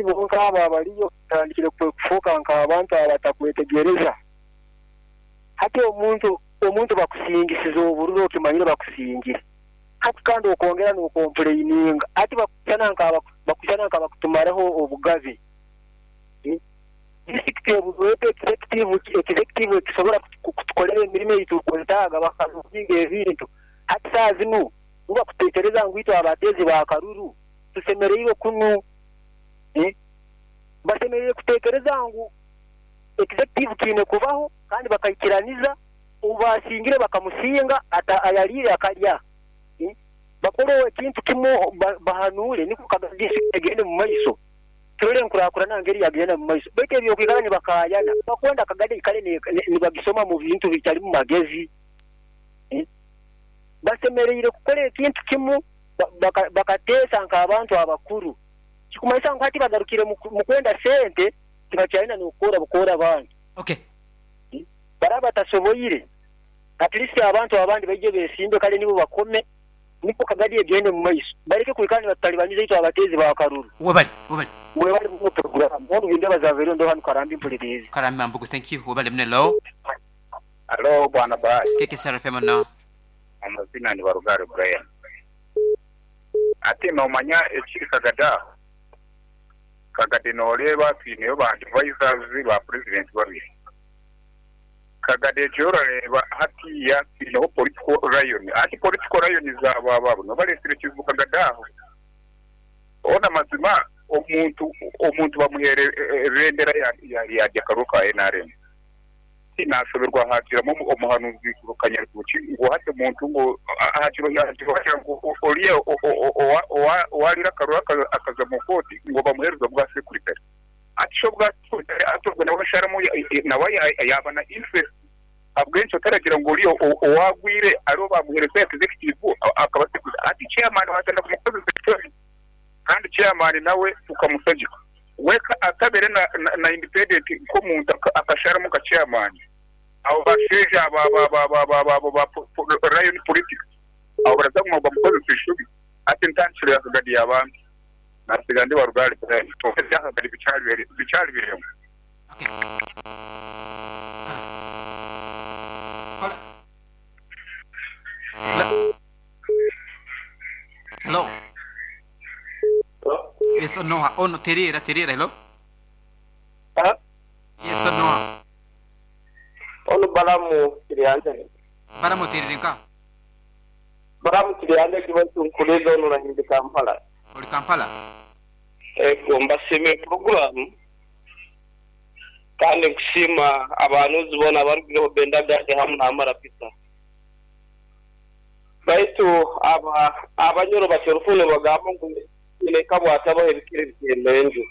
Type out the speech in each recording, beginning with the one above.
Bonka abo abariyo batandikire kufuuka nk'abantu abatakwetegyereza. Hati omuntu omuntu bakusingisize obururu okimanyire bakusingire. Hati kandi okongera nokompuleininga. Hati bakushushana nka bakushushana nkabakutumaraho obugabe. Disiturikiti eburweho executive executive ekisobora kutukorera emirimo ei turikwetaaga bakaruuzinga ebintu. Hati saaha zinu bo bakuteekereza ngu itwe abateezi ba karuru tusemereirwe kunu. Basemeriire kuteekereza ngu executive kiine kubaho kandi bakaikiraniza ou baasingire bakamusinga ayariire akarya. Bakore ekintu kimu bahanuure nikwo Kagadi egende mu maiso. Turole enkurakurana ngeri yagenda mu maiso. Baitu eby'okwikara nibakaayana bakwenda Kagadi eikare nibagisoma mu bintu bitalimu magezi. Basemeriire kukora ekintu kimu bakateesa nk'abantu abakuru. Kikumanyisa ngu hati bagarukire mu kwenda sente tibakyayenda n'okukoora bukoora abantu. Okay. Baraba batasoboire, at least abantu abandi baije besimbe kale nibo bakome nikwo Kagadi egende mu maiso. Baleke kwikara nibatutalibaniza itwe abateezi ba karuru. Webale, webale. Webale muno program. Obu Bindeba zavaireho ndo hanu Karambi mpuliriize. Karambi Mambugu thank you. Webale muno hello. Halo bwana Bahati. KKSR FM no. Amazina ni Barugari Brian. Hati nomanya ekiri Kagadi aho? Kagadi noreeba twineyo ba advisors ba president babiri. Kagadi egyo orareeba hatiiya twineho political lion. Hati political lions abo abo abo nibo baresire ekizibu Kagadi aho. Hoona amazima omuntu omuntu bamuheere ebendera yarya akaruru ka nrm. Tinashoberwa haagiramu omuhanuzi Kanyaritoki ngu hati omuntu ngu haagira ngu oriya owaariire akaruru akaza omu kooti ngu bamuheereze obwa sekuritare. Hati shi obwa sekuritare hati obwo nawe asharamu nawe yaaba na interest ahabw'enki otaragira ngu oriya owaagwire ariwe baamuheereza executive akaba sekuritare. Hati chairman waatandika kumukozesa ekitari kandi chairman nawe tukamushagika. We atabere na independent nk'omuntu akasharamu nka chairman. Abo bashaija aba ba Lion Politics abo baraza kuguma bamukozesa eshobi. Hati entandikiro ya Kagadi yaaba mbi. Nasiga ndi Warugari Brian. Kwonka ebya Kagadi bikyari birengo. Hello. Yes or no? Ono terera terera hello. Ha? Yes or no? Ono Balamu Kiryanjagi. Balamu oterere nka? Balamu Kiryanjagi baitu nkuliza ono na ndi Kampala. Ori Kampala? Ego mbasiimire puroguramu kandi nkusiima abanuzi boona abarugireho Benda Gadi hamu na Amara Peter. Baitu aba Abanyoro batyo orufumu nibagamba ngu Nyineeka bw'atabaho ebikere bitemba enju.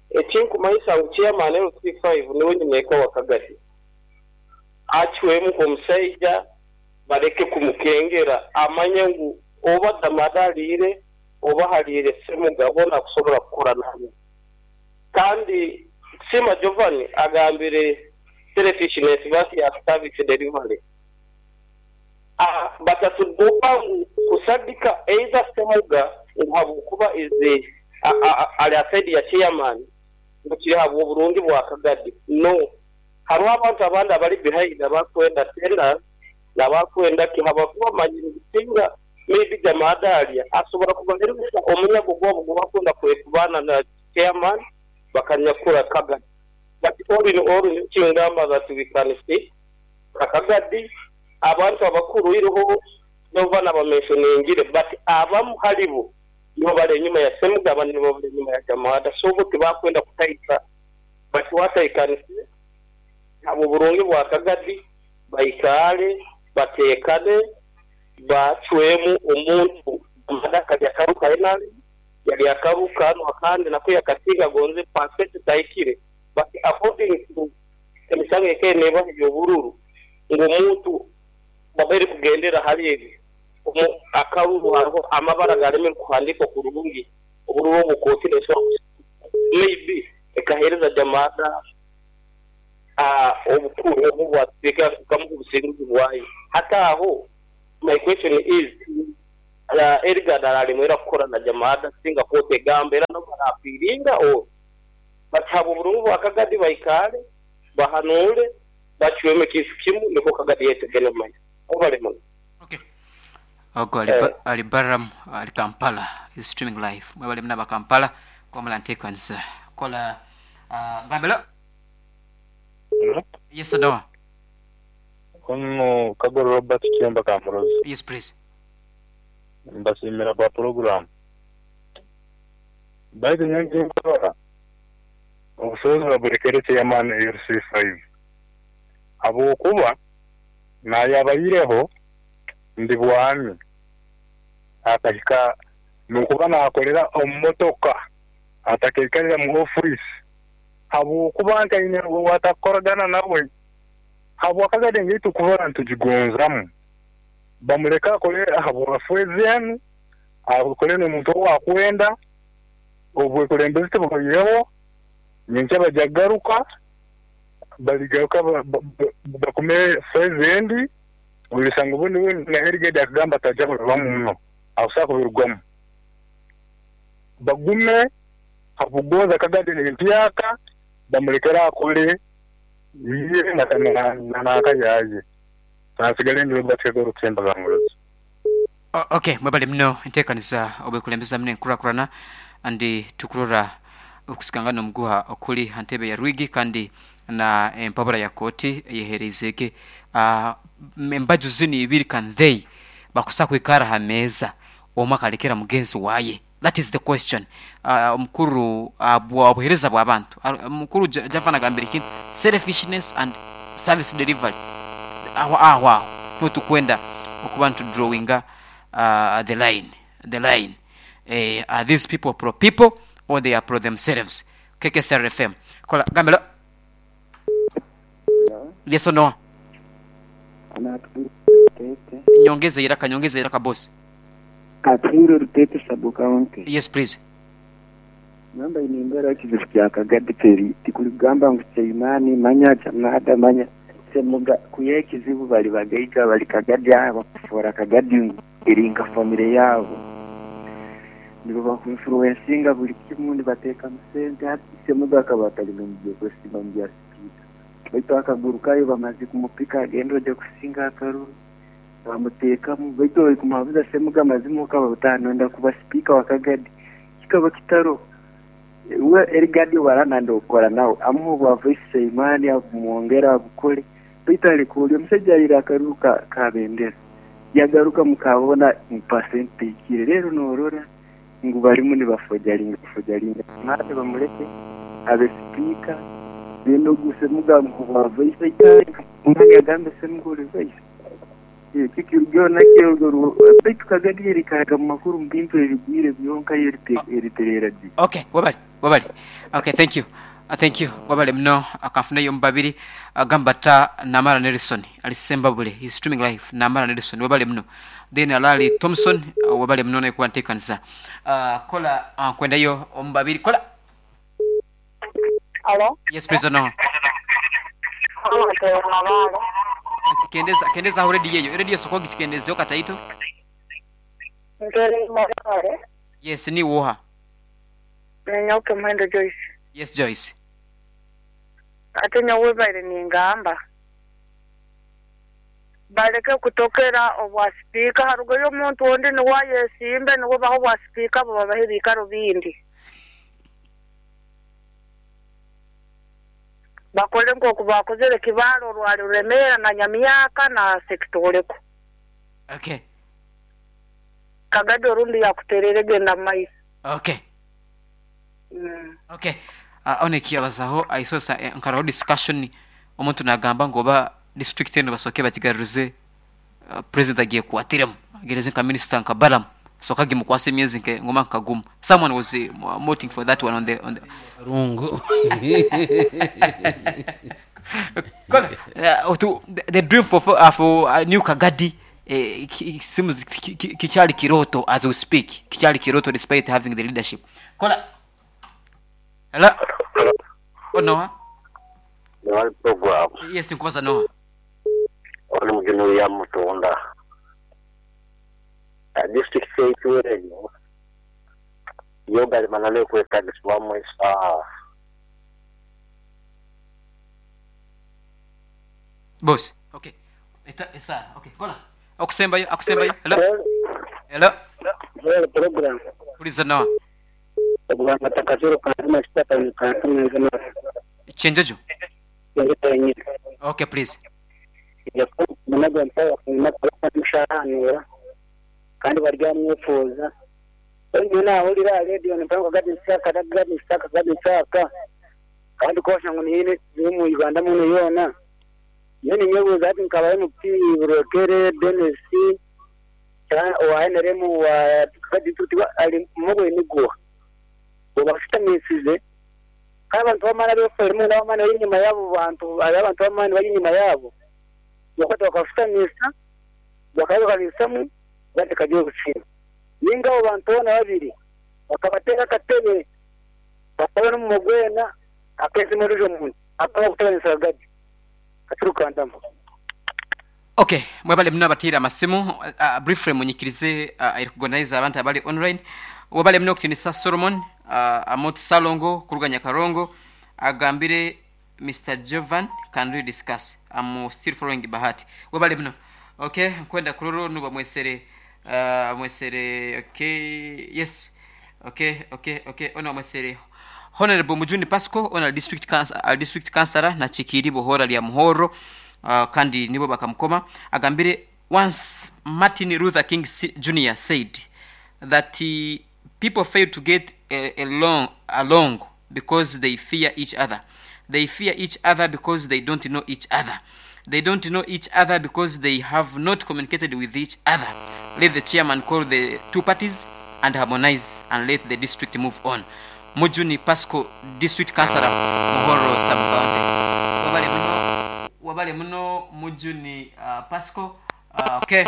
Ekinkumanyisa ngu Chairman LC five niwe nyineeka wa Kagadi. Acwemu nk'omusaija baleke kumukengera amanye ngu oba Damada aliire oba haliire Ssemuga boona akusobora kukora nabo. Kandi Nsiima Giovanni agambire selfishness bati ya service delivery. Batatuduba ngu kusadika either Ssemuga ngu habwokuba is ali aside ya chairman ngu kiri habwoburungi bwa Kagadi. No. Hariho abantu abandi abali behind abakwenda tenders nabakwenda ki habwokuba bamanyire ngu singa maybe Jamada alya asobora kubahereza omunyago gwabo ogubakwenda kwekubana na chairman bakanyakura Kagadi. But all in all nyowe kingamba that we can see Akagadi, abantu abakuru iroho nova nabamentioningire but abamu halibo nibo bali enyuma ya Ssemuga abandi nibo bali enyuma ya Jamada so bo tibakwenda kutaika but what I can say habwoburungi bwa Kagadi baikaale batekane bacwemu omuntu Jamada akalya akaru ka nrm yalya akaru kanu akandi nako yakasinga gonze percent tahikire but according to Emisango ekaire neebaho eby'obururu ngu omuntu babaire kugendera hali ebi, omu akaruru hariho amabara agalemere kuhandiikwa kurungi, obururu obwo kooti neesobora kubusiisa maybe ekaheereza Jamada obukuru obu obwa sipiika ekamuha obusinguzi bwayo. Hati aho my question is, Eligard aralemwa era kukora na Jamada singa kooti egamba era nabwo apiiringa or but habw'oburungi bwa Kagadi baikaale bahanuule bacwemu ekintu kimu nikwo Kagadi yaitu egende omu maiso. Mwebale muno. Okay. Ogwo ali, ali Balaam ali Kampala is streaming live. Mwebale muno aba Kampala kuba muranteekanisa. Kola gamba hello. Hello. Yes Noah. Onu Kagoro Robert Kiyemba Kamurozi. Yes please. Mbasiimira gwa pulogulaamu. Baitu nyowe ekinkurora, obusobozi baburekere chairman LC5 habwokuba nayabaireho ndi bwami akahika nokuba nakolera omu motoka atakaikarira mu office habwokuba ntaine owatakukoragana nawe habwakagadi engeri tukuba nitugigonzamu bamureke akole ahabwa phase enu akole nomuntu owakwenda obwekulembezi tibuhoireho nyenkya bagya kugaruka barigaruka bakume phase endi orisanga obundi we na Eligedi akagamba taja kubibamu muno akusobola kubirugwamu bagume hakugonza Kagadi empyaka bamulekere akole iye nanaka yaye nansigale ndi Robert Kagoro Kemba Kamurozi. Ok mwebale muno entekaniza obwekulembeza muno enkurakurana and tukurora okusikangana omuguha okuri ha ntebe ya Rwigi kandi na empabura ya kooti eyehereizege embaju zinu ibiri can they bakusa kwikara ha meeza omwe akalekera mugenzi waye that is the question omukuru bwa obuhereza bwa bantu omukuru Javan agambire ekintu selfishness and service delivery aho aho aho niho tukwenda okuba nitu drawinga the line the line are these people pro people or they are pro themselves KKSRFM kola gamba hello Yes or no? Nyongeza iraka, nyongeza iraka boss. Katwire Ruteete Sub County. Yes please. Namba ine embera ekizibu kya Kagadi teri tikurigamba ngu Chaimani manya Jamada manya Semuga kuya ekizibu bari bagaiga bari Kagadi aha bakufoora Kagadi ngu eri nka famire yaabo nibo baku influencinga buri kimwe nibateekamu sente hati Semuga akaba atari n'omubyekwesimba mu bya sipiika baitu akagurukayo bamaze kumupika agenda oja kusinga akaruru bamuteekamu baitu orikumuhabuza Semuga amazima okaba otanonda kuba sipiika wa Kagadi kikaba kitaro we Erigadi obu okukora nawe amuha obwa vice chairman abumwongera abukore baitu areka ori omusaija arire akaruru ka, ka bendera yagaruka mukabona mu percent tehikire rero norora ngu barimu nibafojaringa fojaringa mate bamureke abe sipiika then ogu Semuga amuha obwa vice aikare omwanya agambe Semuga ori vice Ekikirugaho nakyo baitu Kagadi erikaraga mu makuru mu bintu ebigwire byonka yo eritereera gye. Ok webale webale ok thank you thank you webale muno kanfuneyo omu babiri gamba ta Namara Nelson ali Sembabule he is streaming live Namara Nelson webale muno then Alali Thomson webale muno naye kuba ntekaniza kola nkwendayo omu babiri kola. Halo? Yes please no. Kendeza kendeza aho radio eyo. Radio soka ogikendezeho kataito. Ntere Mabale. Yes niiwe oha? Niinyowe Muhendo Joyce. Yes Joyce. Ate nyowe baire ningamba baleke kutokera obwa sipiika harugeyo omuntu ondi niwe ayesimbe niwe bahe obwa sipiika bo babahe ebiikaro bindi. Bakole nk'oku baakozere Kibaale orwari Ruremeera na Nyamyaka na Sekitooleko. Okay. Kagadi orundi yakuterera egenda mu maiso. Okay. Okay. Aho nekiyabazaho aisosa nkaraho discussion omuntu nagamba ngu oba district enu basooke bagigaruze president agyekwatiremu agereze nka minister nka Balaam asooke agimukwase emyezi nke ngoma nka gumu someone was voting for that one on the on the Rungu. Kola, otu, the dream for, for, for new Kagadi seems kikyali kiroto as we speak kikyali kiroto despite having the leadership kola hello oh Noah Noah program yes nkubaza Noah oli mugeni ya mutunda district yaitu eno Yo gali mananu ekwetagisibwamu esaaha. Boss. Okay. Eta esaara. Okay. Kola. Okusembayo, akusembayo. Hello. Hello. Hello, program. Puliza noa. Ogamba takazuru kantu kitaka kantu nzima. Kyenjojo. Kyenjojo yenyini. Okay, please. Munago mpawa mushahanura kandi baryamwefuuza. Nyowe naahurira aha rediyo nimpurira ngu Kagadi nsaka, Kagadi nsaka, Kagadi nsaka kandi kwosha ngu nihaine ekizibu omu Uganda munu yoona. Nyowe ninyebuuza hati nkaba MP Burwekere Denis owa NRM owa Kagadi district ari mubwine guha? Obashutamiisize kandi abantu b'amaani abeefoire muno ab'amaani bari enyima y'abo bantu hariho abantu b'amaani bari enyima yaabo bakwata bakabashutamiisa bakabaganisamu Kagadi ekagira obusinge. Nainga abo bantu boona babiri bakabateera akatebe, bakaba n'omunwa gwena akeesiima ondiijo muntu akaba kuteganisa rwagati. Katurukandama. Ok mwebale muno abataire amasimu uh, briefly munyikirize uh, recognize abantu abali online webale muno okutinisa Solomon uh, Amot Salongo kuruga Nyakarongo agambire Mister Jovan can really discuss am still following Bahati webale muno ok nkwenda kurora onu bamwesere uh, bamwesere ok yes ok ok ok onu bamwesere Honorable Mujuni Pasco onu ali district council, ali district councillor nakikiiri bohora lya Muhorro uh, kandi nibo bakamukoma agambire once Martin Luther King Jr said that uh, People fail to get along along because they fear each other. They fear each other because they don't know each other. They don't know each other because they have not communicated with each other. Let the chairman call the two parties and harmonize and let the district move on. Mujuni Pasco District Councillor Muhorro Sub County. Webale muno webale muno Mujuni uh, Pasco. Uh, okay.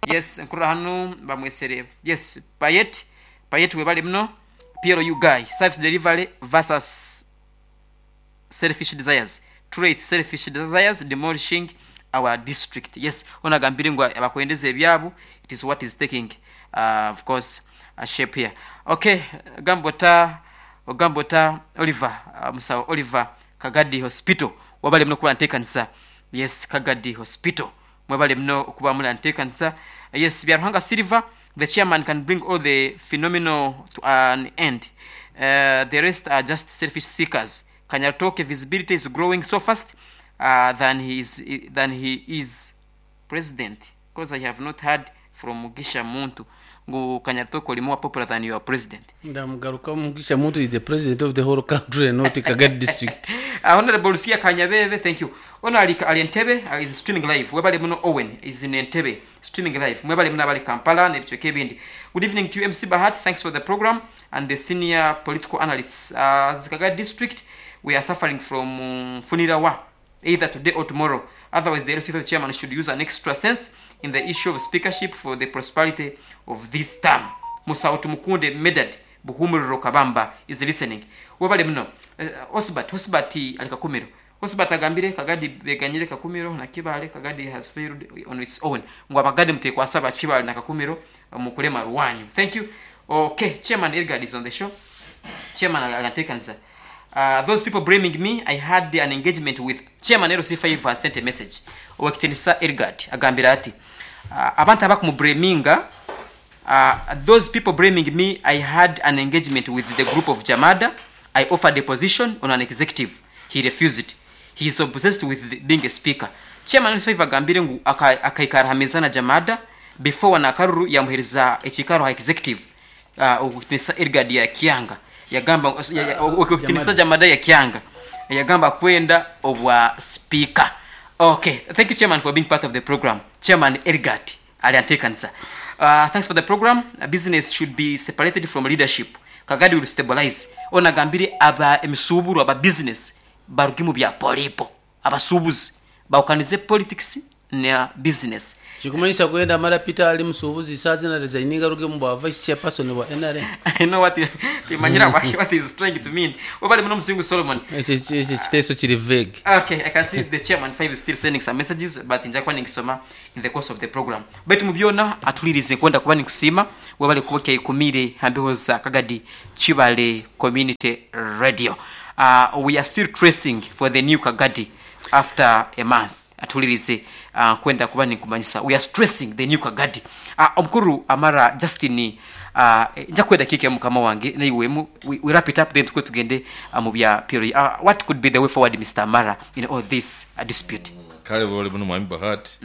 Yes, nkurora hanu bamwesere. Yes, Payet, Payet webale muno. PLU guy, service delivery versus selfish desires. Truth, selfish desires demolishing our district. Yes, ono agambire ngu abakwendeza ebyabu, it is what is taking uh, of course a shape here. Okay, gambota ogambota Oliver, uh, musawo Oliver Kagadi Hospital. Wabale muno kuba ntekanisa. Yes, Kagadi Hospital. Mwebale muno okuba muli antekanisa. Yes, Byaruhanga Silver, the chairman can bring all the phenomenal to an end. Uh, the rest are just selfish seekers. Kanyaritoke visibility is growing so fast uh, than he is than he is president because I have not heard from Mugisha Muntu ngu Kanyaritoke oli more popular than your president. Ndamugarukamu Mugisha Muntu is the president of the whole country not Kagadi district. Honorable Lucia Kanyabebe, thank you. Ono ali, ali Entebbe uh, is streaming live. Webale muno Owen is in Entebbe streaming live. Mwebale muno abali Kampala n'ebicweka ebindi. Good evening to you MC Bahat. Thanks for the program and the senior political analysts. Uh, as Kagadi district we are suffering from um, Funirawa either today or tomorrow. Otherwise the LC chairman should use an extra sense in the issue of speakership for the prosperity of this term. Musawo Tumukunde Medard Buhumuriro Kabamba is listening. Webale muno. Osbert, Osbert ali Kakumiro. Osbert agambire Kagadi beganyire Kakumiro na Kibale, Kagadi has failed on its own. Ngu abagadi mutekwasa ba Kibale na Kakumiro omu kulema rwanyu. Thank you. Okay, Chairman Edgard is on the show. Chairman anatekanisa. Uh, those people blaming me, I had an engagement with Chairman LC5 has sent a message. Owekitinisa Edgard agambire ati uh, abantu abakumublaminga uh, those people blaming me, I had an engagement with the group of Jamada. I offered a position on an executive. He refused. He is obsessed with the, being a speaker. Chairman LC5 agambire ngu akaikara ha meza na Jamada before na akaruru yamuhereza ekikaro ha executive uh, okutinisa Edgard ya Kianga yagamba okutinisa Jamada ya Kianga yagamba kwenda obwa speaker. Okay, thank you chairman for being part of the program. Chairman Edgard ali antekanisa. Uh, thanks for the program. Business should be separated from leadership. Kagadi will stabilize. Ono agambire aba emisuuburo aba business baruge mu bya polipo. Abasuubuzi bahukanize politics Na business. Kirikumanyisa ku wenda Mara Peter ari musuubuzi shaaha zinu aresigninge aruge omu bwa vice chairperson bwa nrm? I know what timanyire what he is trying to mean. Webale muno Musingu Solomon. Ekyo ekiteeso kiri vague. Okay, I can see the chairman 5 is still sending some messages but nja kuba ningisoma in the course of the program. Baitu mu byona atuhuririze nkwenda kuba ninkusiima webale kuba okyayekumiire ha mbeho za Kagadi Kibale Community Radio. We are still tracing for the new Kagadi after a month. Atuhuririze nkwenda kuba ninkumanyisa we are stressing the new Kagadi. Omukuru Amara Justin nja kuha edakiika emu mukama wange naiwe emu we wrap it up then tukwe tugende omu bya PLU. What could be the way forward Mister Amara in all this dispute? Kale webale muno Mwami Bahati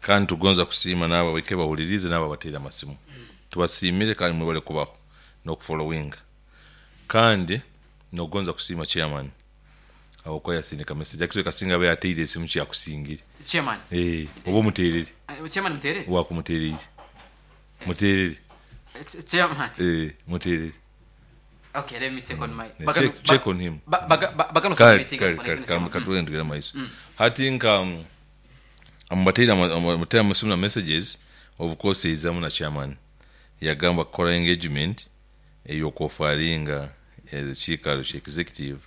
kandi tugonza kusiima naabo abaike bahuririize naabo abateire amasimu. Tubasiimire kandi mwebale kubaho n'okufollowinga. Kandi nogonza kusiima chairman ahabw'okuba yasindika message actually kasinga aba yateire esimu kiyakusingire. Chairman. Eeh oba omuterere. Chairman muterere? Wakumutereire. Muterere. Chairman. Eeh muterere. Okay, let me check on my Check, check on him. Bagano Kale kale kale kale katugende tugende maiso. Hati nka amubateire amubateire amasimu na messages of course yaizamu na chairman yagamba kukora engagement ey'okwofaringa ekiikaro kya executive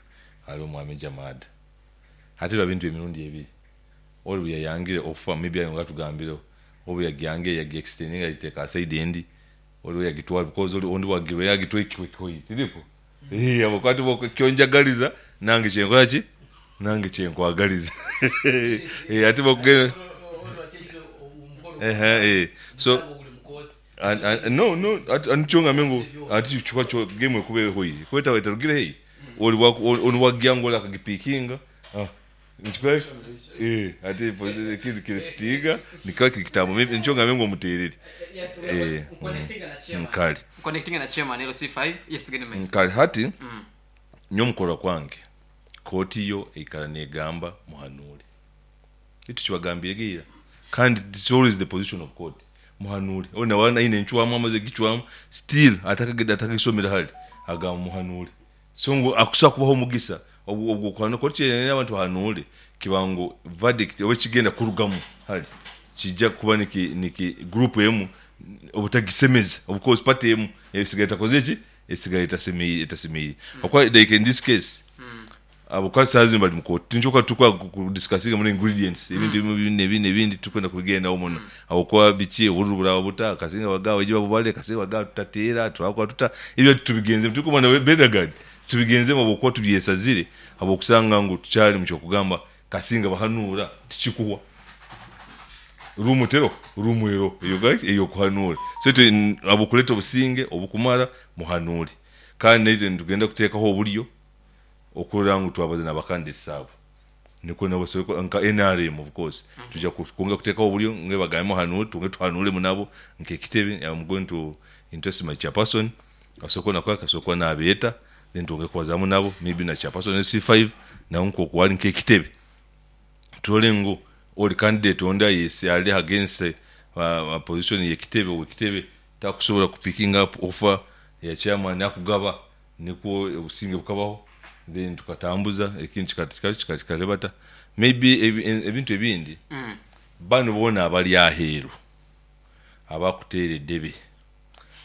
hali omwami Jamada. Hati biba bintu emirundi ebiri, oli buyayangire offer maybe ayo ngatugambireho, obu yagyangire yagi extendinga yagiteeka ha side endi, oli weyagitwara because oli ondi wagirwa yagitwara ekihwekihwei tirikwo? Eeh habwokuba hati iwe kyonjagaliza nange kyenkora ki? Nange kyenkwagaliza eeh hati bwokugenda eeh so no no nikyo ngambire ngu hati kikuba game ekuba ehweire kuba etarugire haihi ori onu wagya ngu ori akagipikinga hati ekindi kirisitinga nikiba kiri kitambo nikyo ngambire ngu omuterere kare kare hati nyowe omu kurora kwange kooti yo eikara negamba muhanuure. Itwe tukibagambiire ira kandi it's always the position of court muhanuure onu naaba aine encwamu amazire kugicwamu still atakagisomere hare agamba muhanuure so ngu akusobola kubaha omugisa ogw'okuhanuura koti kyeyenda abantu bahanuure kiba ngu verdict oba ekigenda kurugamu hare kiija kuba niki niki group emu obutagisemeza of course party emu esigara etakozire ki esigara etasemeire ahabw'okuba like in this case Ahabw'okuba shaaha zinu bari mu kooti. Tinkyo kuba turi ku discussinga muno ingredients, ebintu ebimwe ebi n'ebi n'ebindi titurikwenda kubigendaho muno ahabw'okuba biki, obururu buraba buta, kasinga bagaaba baije babubare, kasinga bagaaba tutateera, turakora tuta, ebyo titubigenzemu. Turikumanya Bedagan, titubigenzemu ahabw'okuba tubyesazire ahabw'okushanga ngu tukyari mu ky'okugamba kasinga bahanuura tikikuhwa. Ruumu teriho? Ruumu eriho ey'okukoraki? Ey'okuhanuura. So itwe ahabw'okureeta obusinge obukumara, muhanuure. Kandi naitwe nitugenda kuteekaho oburyo okurora ngu twabaza na ba candidates abo nikwo nabo basobole nka nrm of course twija kwongera kutekaho oburyo ngu bagambe muhanure twongere tuhanuremu nabo nk'ekitebe am going to interest my chairperson asobole kuba nakoraki asobole kuba nabeeta then twongere kubazamu nabo maybe na chairperson LC5 nawe nkoku ari nk'ekitebe turore ngu ori candidate ondi ayesi ari against position y'ekitebe ow'ekitebe takusobola ku picking up offer ya chairman akugaba Nikwo obusinge bukabaho then tukatambuza ekindi kikarebata maybe ebintu ebindi banu boona abari aheeru abakuteera edebe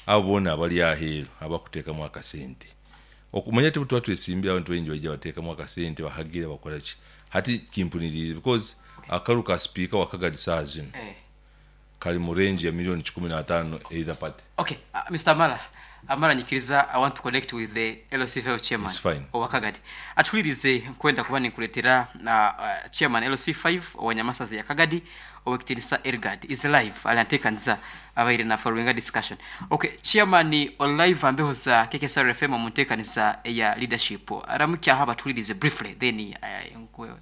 abo boona abari aheeru abakutekamu akasente okumanya tituba twesimbire abantu baingi baija batekamu akasente bahagira bakoraki hati kimpuniriize because akaru ka sipiika wa Kagadi saaha zinu kari mu range ya million kikumi n'ataano either party. Ok Mister Amara, Amara nyikiriza I want to connect with the LC5 chairman It's fine. owa Kagadi. Atuhuririze nkwenda kuba ninkuretera chairman LC5 owa Nyamasaza ya Kagadi Owekitinisa Elgard is live ari antekaniza abaire na followinga discussion. Ok chairman ori live aha mbeho za KKSR FM omu ntekaniza eya leadership. Ramukyaho abatuhuririze briefly then nkuhe.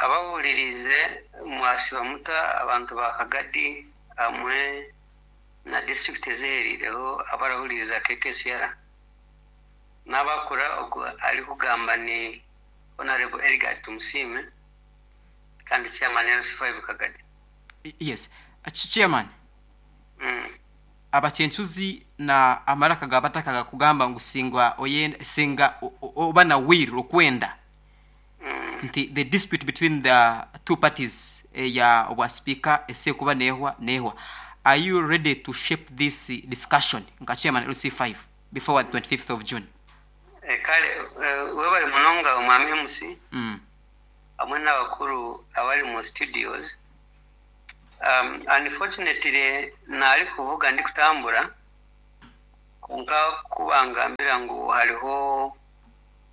Abahuririize mwasiba muta abantu ba Kagadi hamwe na disiturikiti ezihereireho abarahuririza KKCR. Nabakura ogu arikugamba ni Honarebo Elgard Tumusiime kandi Chairman LC5 Kagadi. Yes Chairman. Abakyencuzi na amaraka ga bataka gakugamba ngu singa oyenda singa oba na will okwenda. Nti the dispute between the two parties eya obwa sipiika esekuba nehwa nehwa. Are you ready to shape this discussion nka chairman LC5 before 25th of June? Kale webale munonga Omwami MC hamwe n'abakuru abari mu studios. Unfortunately narikuvuga ndikutambura kwonka kubangambira ngu hariho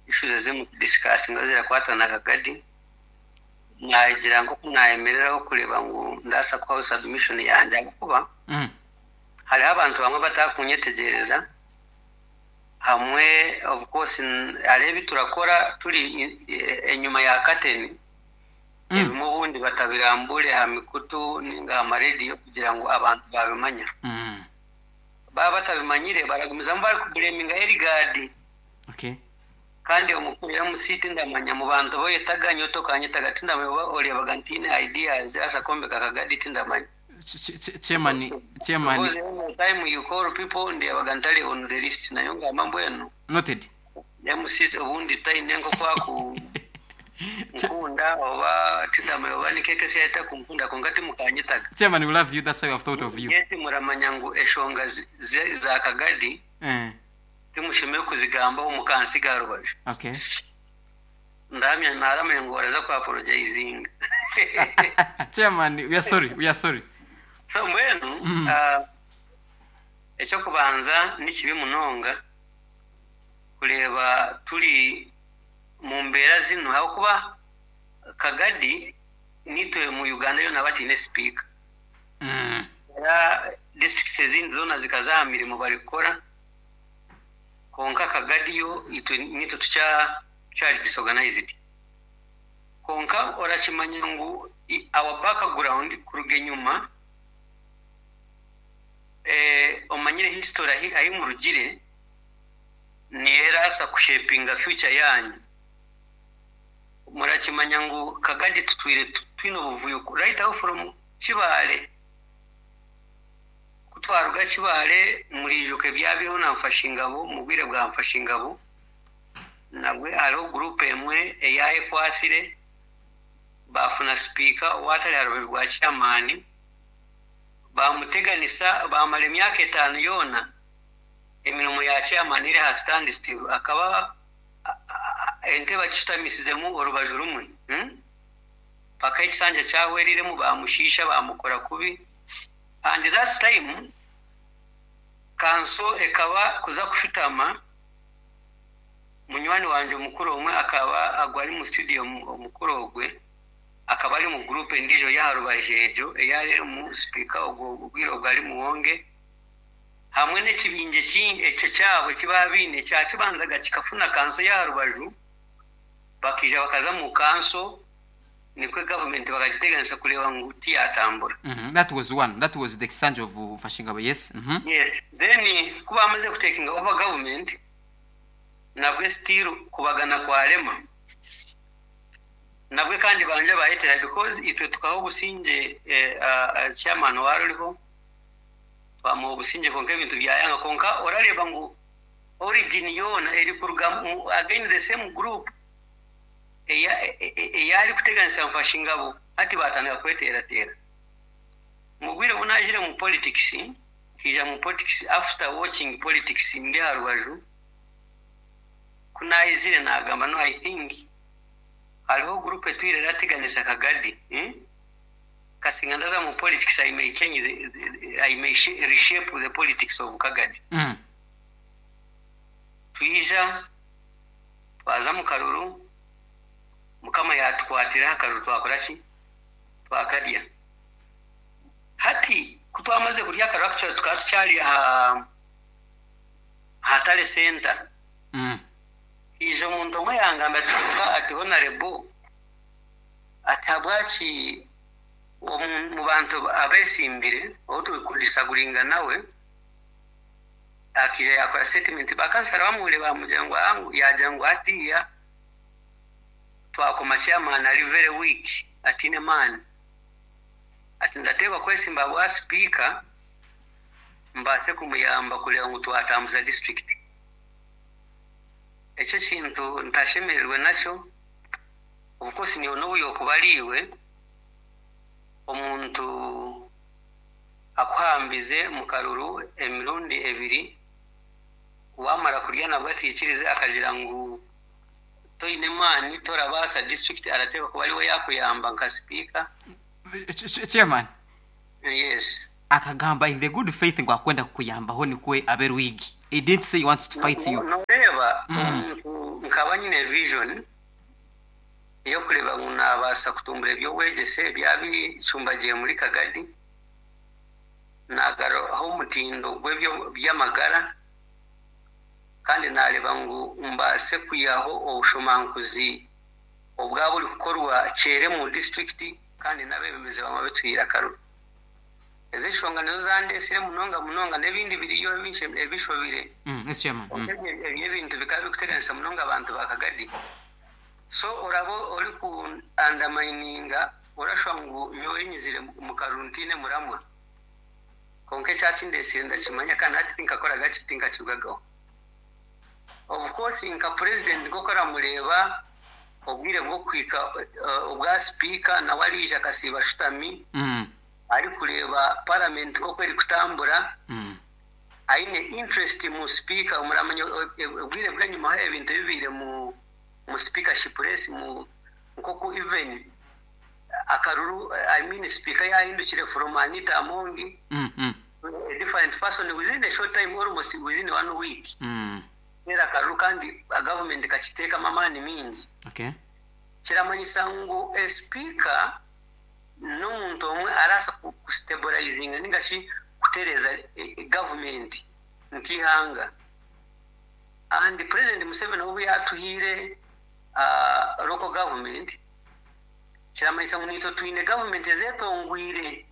issues ezimu kudiscussinga ezirakwata na Kagadi, nagira nk'oku nayemereraho kureeba ngu ndabaasa kuhaho submission yangye ahabw'okuba hariho abantu bamwe abatakunyetegyereza hamwe of course hariho ebi turakora turi enyima ya curtain ebimwe obundi batabirambure aha mikutu ninga aha marediyo kugira ngu abantu babimanya. Baba batabimanyire baragumizamu barikublaminga Eligadi. Kandi omukuru MC tindamanya mu bantu boyetaga nyowe tokanyetaga tindamanya oba oreebaga ntiine ideas zirabaasa kwombeka Kagadi tindamanya. Chairman, chairman. Because every time you call people ndeebaga ntari on the list nayo ngamba mbwenu. Noted. MC obundi taine nk'oku aku nkunda oba tindamanya oba ni KKC etakunkunda kwonka timukanyetaga. Chairman, we love you, that's why we have thought of you. Yet muramanya ngu eshonga za Kagadi timushemereire kuzigambaho mukansiga aha rubaju. Ndahamya naramanya ngu oraza ku apologizinga. Chairman, we are sorry, we are sorry. So mbwenu ekyokubanza ni kibi munonga kureeba turi mu mbeera zinu ahabw'okuba Kagadi nitwe mu Uganda yoona bataine sipiika. Era districts ezindi zoona zikaza aha mirimo barikukora kwonka Kagadi yo itwe nitwe tukyari disorganized. Kwonka orakimanya ngu our background kuruga enyuma omanyire history ahi murugire niyo eraasa kushapinga future yanyu. Murakimanya ngu Kagadi tutwire twine obuvuyo right aho from Kibaale. Ku twaruga Kibaale muriijuka ebyabireho na Mfashingabo mu bwire bwa Mfashingabo nabwe hariho group emwe eyayekwatsire baafuna sipiika owaatari aha rubaju rwa chairman bamuteganisa bamara emyaka 5 yoona emirimo ya chairman eri aha standstill akaba entebe akishutamisizemu orubaju rumwe paka ekisanja kyahweriremu bamushiisha bamukora kubi. And that time kanso ekaba kuza kushutama munywani wangye omukuru omwe akaba agwa ari mu studio omukuru ogwe akaba ari mu group endiijo y'aha rubaju egyo eyari erimu sipiika ogwo obwire obwo ari Muwonge hamwe n'ekibinge ekyo kyabo eki baabaine kyakibanzaga kikafuna kanso y'aha rubaju bakaija bakaza mu kanso nikwo gavumenti bakagiteganisa kureeba ngu tiyatambura. That was one. That was the Kisanja of Mfashingabo, yes. Yes. Then ku bamaze kutakinga over government nabwe still kubagana kwarema. Nabwe kandi banje bayetera because itwe tukaho obusinge chairman waruriho twamuha obusinge konka ebintu byayanga konka orareba ngu origin yoona eri kuruga again the same group eyari kuteganisa Mfashingabo hati batandika kweteratera. Mu bwire obu najire mu politics, nkija mu politics after watching politics ndi aha rubaju, ku nayizire nagamba no I think hariho group etwire erateganisa Kagadi. Kasinga ndaza mu politics I may change the I may reshape the politics of Kagadi. Twija twaza mu karuru Mukama yatukwatira akaruru twakora ki? Twakarya. Hati ku twamaze kurya akaruru actually tukaba tukyari aha Hatare Center. Ija omuntu omwe yangamba ati ati honorable ati habwaki mu bantu abesimbire ou turi kudisaguringa nawe akija yakora statement bakansara bamuhure bamugira ngu angu yagira ngu hatiya twakoma chairman ari very weak atine man ati ndateekwa kwesimba bwa speaker mbaase kumuyamba kureba ngu twatambuza district. Ekyo kintu ntashemererwe nakyo Of course niiwe n'obu yookuba ari iwe, omuntu akuhambize mu karuru emirundi ebiri, waamara kurya nabwo ataikirize akagira ngu toine maani torabaasa district arateekwa kuba ariwe yaakuyamba nka sipiika. Chairman. Yes. Akagamba in the good faith ngu akwenda kukuyambaho nikwe abe rwigi. He didn't say he wants to fight you. Noreeba omuntu nkaba nyine vision ey'okureeba ngu naabaasa kutumbura eby'obwegyese ebyabicumbagiire muri Kagadi, naagaruhaho omutindo gw'eby'amagara kandi naareeba ngu mbaase kwihaho obushomankuzi obwaba burikukorwa kyere omu disiturikiti kandi n'abeebembezi bamwe abitwire akaruru. Ezo enshonga nizo zandeetsire munonga munonga n'ebindi biriyo ebishobire. Kwonka ebyo ebintu bikaba birikuteganisa munonga abantu ba Kagadi. So oraba oriku undermininga orashwa ngu nyowe nyizire omu karuru ntaine muramwa. Kwonka ekyakindeetsire ndakimanya kandi hati tinkakoraga ki tinkakirugagaho. Of course nka president nk'oku oramureeba obwire bw'okuhika obwa sipiika nawe araija akasiiba ashutami arikureeba parliament nk'oku erikutambura aine interest mu sipiika. Muramanya obwire bw'enyimaho ebintu ebibaire mu speakership race nk'oku even akaruru I mean sipiika yahindukire from Anita Among a different person within a short time almost within one week kuteera akaruru kandi government ekakiteekamu amaani maingi. Kiramanyisa ngu sipiika n'omuntu omwe arabaasa ku stabilizinga ninga shi kutereeza government nk'eihanga. And President Museveni obu yaatuhaire local government kiramanyisa ngu naitwe twine government ezetongwire.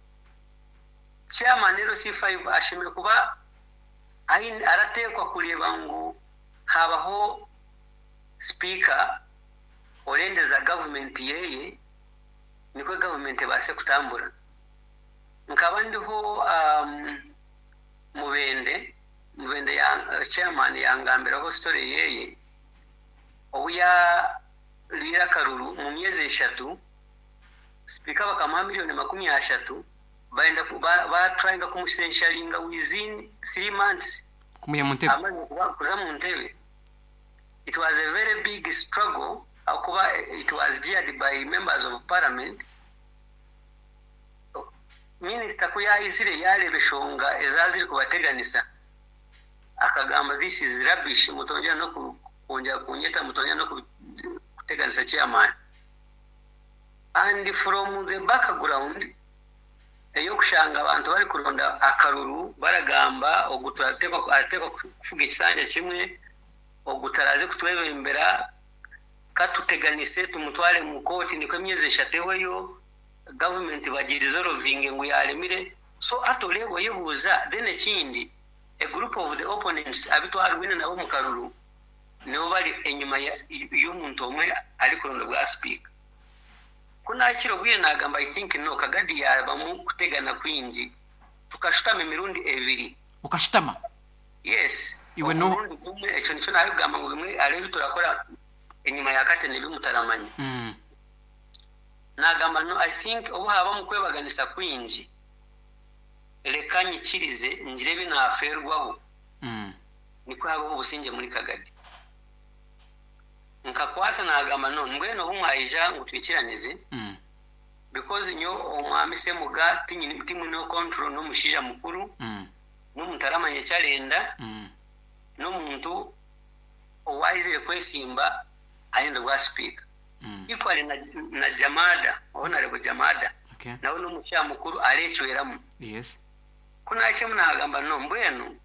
Chairman LC5 ashemereire kuba aine arateekwa kureeba ngu habaho sipiika orendeza gavumenti yeye nikwo gavumenti ebaase kutambura. Nkaba ndiho Mubende, Mubende ya chairman yangambiraho story yeye obu yariire akaruru mu myezi eshatu sipiika bakamuha miriyoni 30 Bayenda ku ba ba tryinga kumusensuringa within 3 months Kumuiha mu ntebe. amaze kuba kuza mu ntebe. It was a very big struggle ahakuba it was geared by members of parliament. Minister ku yaizire yareeba eshonga ezaba ziri kubateganisa akagamba this is rubbish mutongyera noku kwongyera kunyeta mutongyera noku kuteganisa chairman. And from the background ey'okushanga abantu barikuronda akaruru baragamba ogu arateekwa kufuga ekisanja kimwe, ogu taraaze kutwebembera, katuteganise tumutware omu kooti nikwo emyezi eshatu ehweyo, gavumenti bagirizorovinge ngu yaaremire. So hati oreeba oyebuuza then ekindi a group of the opponents abu twarwine nabo omu karuru nibo bari enyima y'omuntu omwe arikuronda obwa sipiika. Ku naakira obwire naagamba I think no, Kagadi yaabamu kutegana kwingi. Tukashutama emirundi ebiri. Okashutama? Yes. Iwe n'oha? Omurundi gumwe, ekyo nikyo naarikugamba ngu bimwe hariho ebi turakora enyima ya kateni ebi mutaramanya. Naagamba no, I think obu haabamu kwebaganisa kwingi, reka nyikirize ngire ebi naafeerwaho nikwo habeho obusingye muri Kagadi. Nkakwata nagamba no mbwenu obu mwaija ngu twikiranize because nyowe omwami Semuga timwineho control n'omushaija mukuru n'omuntu aramanya eki arenda n'omuntu owaizire kwesimba arenda obwa sipiika equally na Jamada Honarebo Jamada nawe n'omushaija mukuru arecweramu. Ku nahikiremu nagamba no mbwenu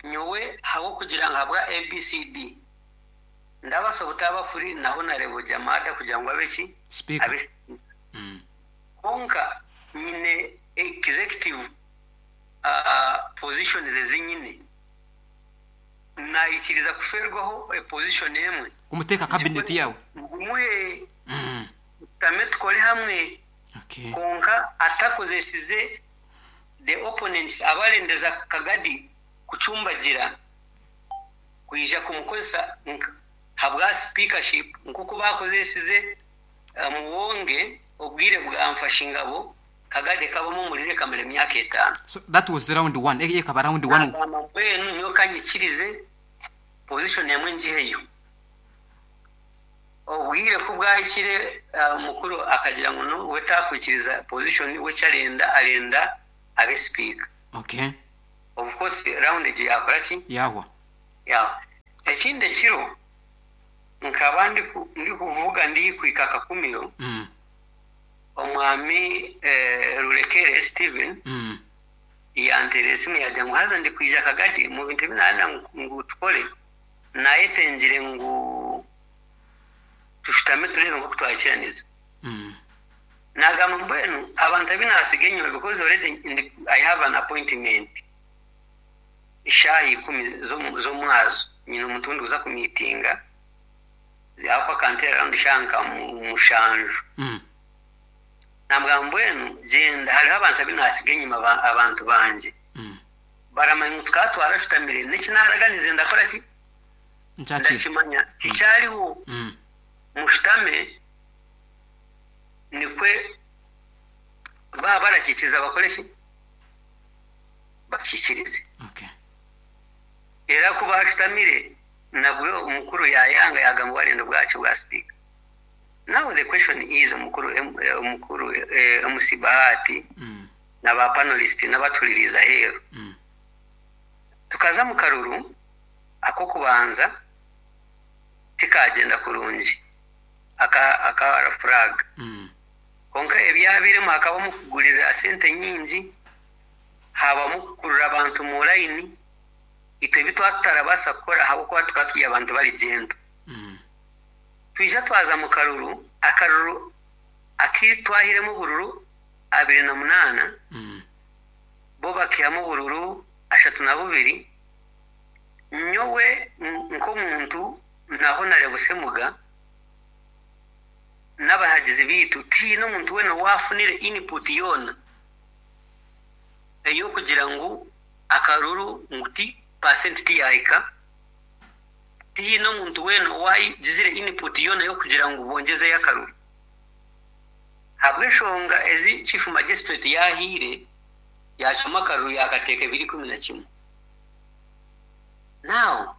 Nyowe ahabw'okugira ngu ahabwa ABCD ndabaasa obutaaba free na Honarebo Jamada kugira ngu abe ki? Sipiika. Abe sipiika. Kwonka nyine executive positions ezi nyine. Naikiriza kufeerwaho position emwe. Kumuteeka cabinet yaawe. Ngimuhe tushutame tukore hamwe kwonka atakozesize the opponents abarendeza Kagadi kucumbagira kwija kumukozesa nka Habwa speakership nk'oku baakozesize Muwonge obwire bwa Nfashingabo, Kagadi ekabamu omuriro ekamara emyaka etaano. So that was round one, eyo ekaba round one. Naagamba mbwenu nyowe ka nyikirize position emwe ngiheyo. Obwire ku bwahikire omukuru akagira ngu no we taakwikiriza position we eki arenda arenda abe sipiika. Okay. Of course round egyo yaakora ki? Yaahwa. Yaahwa. Ekindi ekiro nkaba ndikuvuga ndikuhika Kakumiro, omwami Rurekere Stephen yanteerera esimu yaagira ngu haza ndikwija Kagadi omu bintu ebi naarenda ngu tukore naayetengire ngu tushutame tureebe nk'oku twahikiraniza. Naagamba mbwenu abantu abu naatsiga enyima because already I have an appointment eshaaha ikumi z'omwazo nyine omuntu ou ndikuza kumiitinga ahakuba akanteera around shaaha nka mushanju. Naamugamba mbwenu gyenda hariho abantu abu naatsiga enyima abantu bangye baramanya ngu tukaba twarashutamire n'eki naaraganize ndakora ki? Ndakimanya tikyariho mushutame nikwe baaba barakiikiriza bakore ki? Bakiikirize. Era ku baashutamire nabwo omukuru yaayanga yaagamba warenda obwaki bwa sipiika. Now the question is omukuru omukuru MC Bahati na ba panelist n'abatuhuririize aheeru. Tukaza omu karuru ak'okubanza tikaagyenda kurungi aka aka flag. Kwonka ebyabairemu hakabamu kugurira sente nyingi, haabamu kukurura abantu mu layini, itwe ebi twaba tutarabaasa kukora ahabw'okuba tukaba turi abantu bari gentle. Twija twaza mu karuru, akaruru aku twahairemu obururu 28, bo bakaihamu obururu 32, nyowe nk'omuntu na Honarebo Ssemuga n'abahagizi baitu tihaine omuntu weena owaafunire input yoona ey'okugira ngu akaruru ngu ti paasenti tiyaahika, tihaine omuntu weena owaagizire input yoona y'okugira ngu bongyezeyo akaruru. Ahabw'enshonga ezi Chief Magistrate yaahaire, yaacwamu akaruru yaakateeka 2011. Now,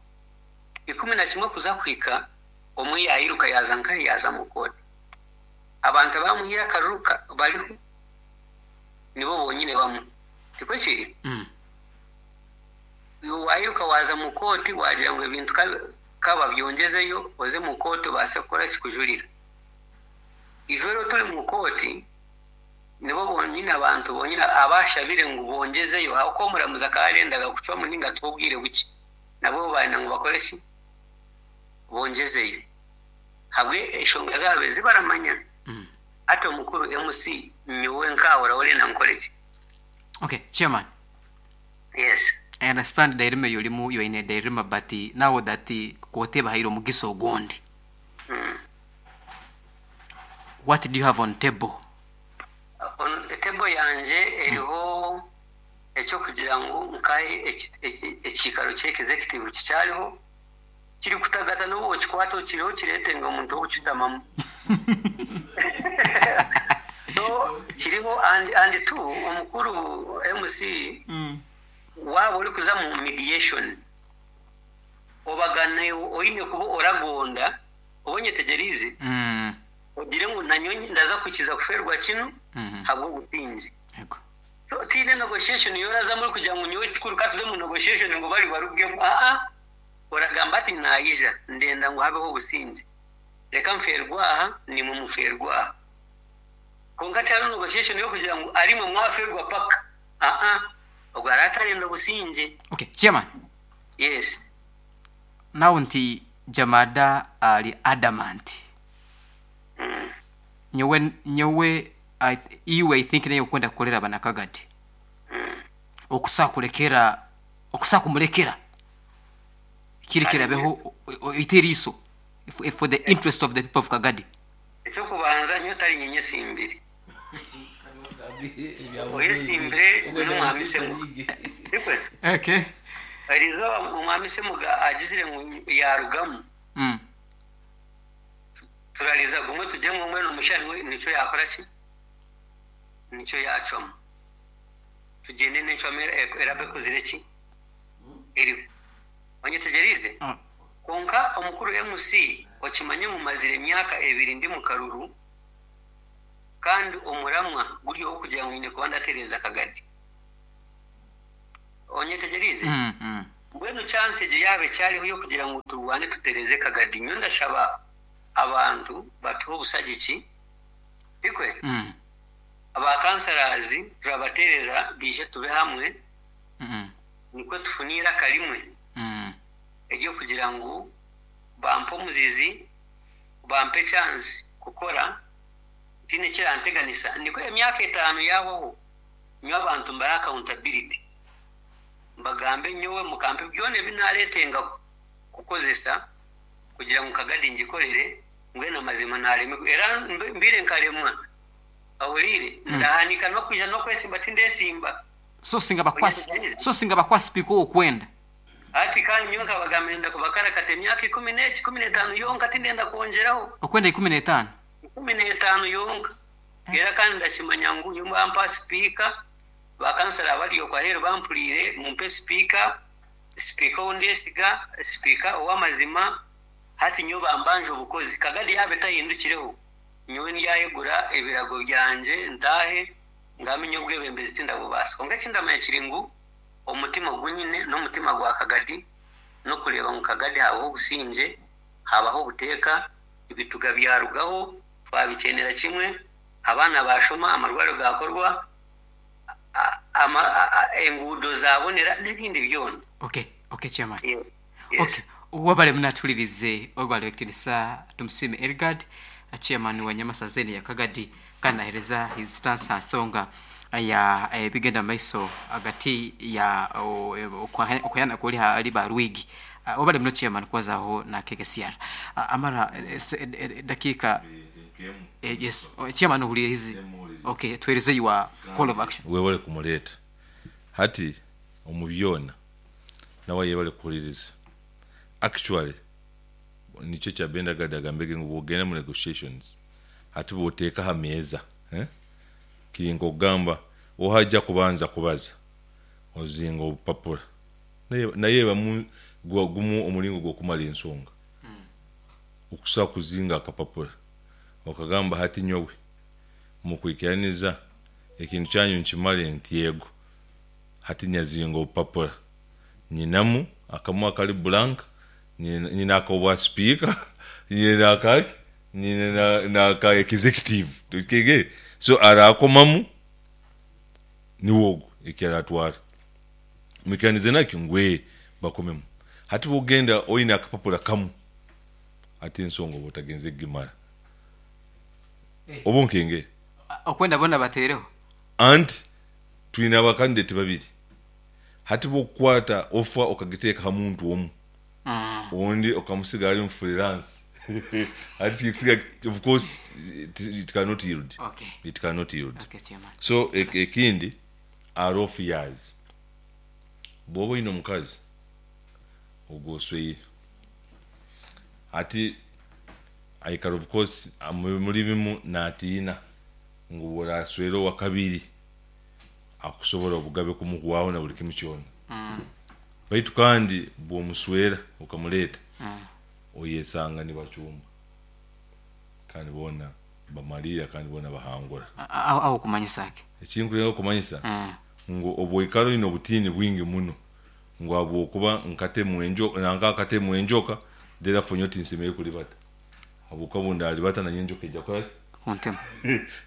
11 kuza kuhika, omwe yairuka yaaza nkahi? Yaaza mu kooti. Abantu abaamuhaire akaruru bariho nibo bonyine bamwe. Tikwo kiri? Iwe wairuka waaza mu kooti waagira ngu ebintu ka babyongyezeyo, oze mu kooti obaase kukora ki? Kujurira. Ijwero turi mu kooti, nibo bonyine abantu bonyine abaashabire ngu bongyezeyo ahabw'okuba omuramuzi akaba arendaga kucwamu nainga atuhe obwire bukye. Nabwo baayenda ngu bakore ki? Bongyezeyo. Ahabwe enshonga zaabo ezi baramanya. Hati omukuru MC nyowe nkaawe oraba orenda nkore ki? Okay, chairman. Yes. I understand dilemma eyi orimu, you are in a dilemma but now that kooti ebahaire omugisa ogundi. What do you have on table? On table yangye eriho eky'okugira ngu nkahe ekiikaro ky'executive kikyariho kirikutagata n'obu okikwata okireho okireete ngu omuntu ow'okukishutamamu. So kiriho and and two omukuru MC waaba orikuza mu mediation obagana iwe oine kuba oragonda oba onyetegyereize ogire ngu nanyowe ndaza kwikiriza kufeerwa kinu ahabw'obusinge. So tihaine negotiation ei orazamu orikugira ngu nyowe ekikuru ka tuze omu negotiation ngu bari barugemu aa oragamba ati naija ndenda ngu habeho obusingye reka nfeerwe aha naimwe mufeerwe aha. Kwonka tihariho negotiation y'okugira ngu arimwe mwafeerwa paka aa ogwo araba atarenda obusingye. Okay chairman. Yes. Now nti Jamada ari adamant. Nyowe nyowe iwe I think naye okwenda kukorera abanakagadi. Okusa kurekera okusa kumurekera kiri kirabeho oite eriiso for the interest of the people of Kagadi. Ekyokubanza nyowe tari nye nyesimbire. Oyesimbire n'omwami Semuga. Tikwe? Okay. Erizooba omwami Semuga agizire ngu yaarugamu. Turariza gumwe tugire ngu mbwenu omushaija niwe nikyo yaakora ki? Nikyo yaacwamu. Tugyende n'encwamu eraabe ekozire ki? Eriho. Onyetegyereize? Kwonka omukuru MC, okimanye ngu mazire emyaka ebiri ndi mu karuru kandi omuramwa guri ow'okugira ngu nyine kuba ndatereeza akagadi. Onyetegyereize? Mbwenu chance egyo yaaba ekyariho y'okugira ngu turwane tutereeze Kagadi, nyowe ndashaba abantu batuhe obusagiki, tikwe? Aba councillors turabateerera baije tube hamwe nikwo tufune eiraka rimwe ery'okugira ngu bampe omuzizi, bampe chance kukora ntiine ekiranteganisa nikwo emyaka etaano yaahwaho nyowe abantu mbahe accountability. Mbagambe nyowe mukampe byona ebi naareetenga kukozesa kugira ngu Kagadi ngikorere, mbwenu amazima naaremirwe era mbaire nkaremwa. Ohuriire? Ndahanika n'okwija n'okwesimba tindeesimba. So singa bakuha so singa bakuha sipiika ow'okwenda. Hati kandi nyowe nkabagambira ndenda kubakarakata emyaka ikumi n'eki, 15 yonka tindenda kwongyeraho. Okwenda 15? 15 yonka. Era kandi ndakimanya ngu nyowe bampa sipiika Ba kansara abari okwo aheeru bampuriire, mumpe sipiika, sipiika ou ndesiga, sipiika ow'amazima, hati nyowe bambanja obukozi. Kagadi yaaba etahindukireho, nyowe ndyayegura ebirago byangye ntaahe, ngambe nyowe obwebembezi tindabubaasa. Kwonka eki ndamanya kiri ngu omutima ogu nyine n'omutima gwa Kagadi, n'okureeba ngu Kagadi haabaho obusingye, haabaho obuteeka, ebituga byarugaho, twabikyenera kimwe, abaana baashoma, amarwariro gaakorwa, enguudo zaabonera n'ebindi byona. Okay, okay chairman. Yes. Okay. Wabale munatuhuririze ogwo Ekitinisa Tumusiime Elgard chairman wa Nyamasaza eno eya Kagadi kandi nahereza his stance ha nsonga ya ebigenda mu maiso hagati ya okuhayana kuri hali ba Rwigi. Wabale muno chairman kubazaho na KKCR. Amara dakiika Yes, chairman ohuriire hizi. Okay, tuhereze your call of action. Webale kumureeta. Hati omu byona nawe ayebale kuhuririza. Actually nikyo ekya Benda Gad agambire ngu bwogenda omu negotiations hati bwoteeka aha meeza eh, kiri nk'okugamba oha aija kubanza kubaza ozinga obupapura naye naye ebamu gumu omuringo gw'okumara ensonga. Okusobola kuzinga akapapura okagamba hati nyowe mukwikiraniza ekintu kyanyu nkimare nti yego hati nyazinga obupapura nyinamu akamwe akari blank nyine akobwa sipiika nyine akaki nyine naka executive so arakomamu niwe ogu eki aratwara mwikiranize nakyo ngu ee bakomemu hati bwogenda oyine akapapura kamwe Hati ensonga oba otagenze kugimara. Oba onkengere. Okwenda boona bateereho. Anti twine aba candidate babiri. Hati bwokukwata offer okagiteeka ha muntu omu, ondi okamusiga ari mu freelance hati kikusiga of course it cannot yield. Okay. It cannot yield. Okay, chairman. So ekindi are off years. Bwoba oyine omukazi ogwo osweire. Hati aikara of course muri bimu natiina ngu bworaswera owakabiri akusobora obugabe kumuhwaho na buri kimu kyona. Baitu kandi bwomuswera okamureta oyesanga nibacumba kandi boona bamariira kandi boona bahangura. Aho okumanyisa ki? Ekinkurenga kumanyisa ngu obwoikara oine obutiini bwingi muno ngu ahabw'okuba nkatemwa enjoka, nanka akatemwa enjoka, therefore nyowe tinsemereire kuribata, ahabw'okuba obu ndaribata nanye enjoka eija kukora ki? Kuntema.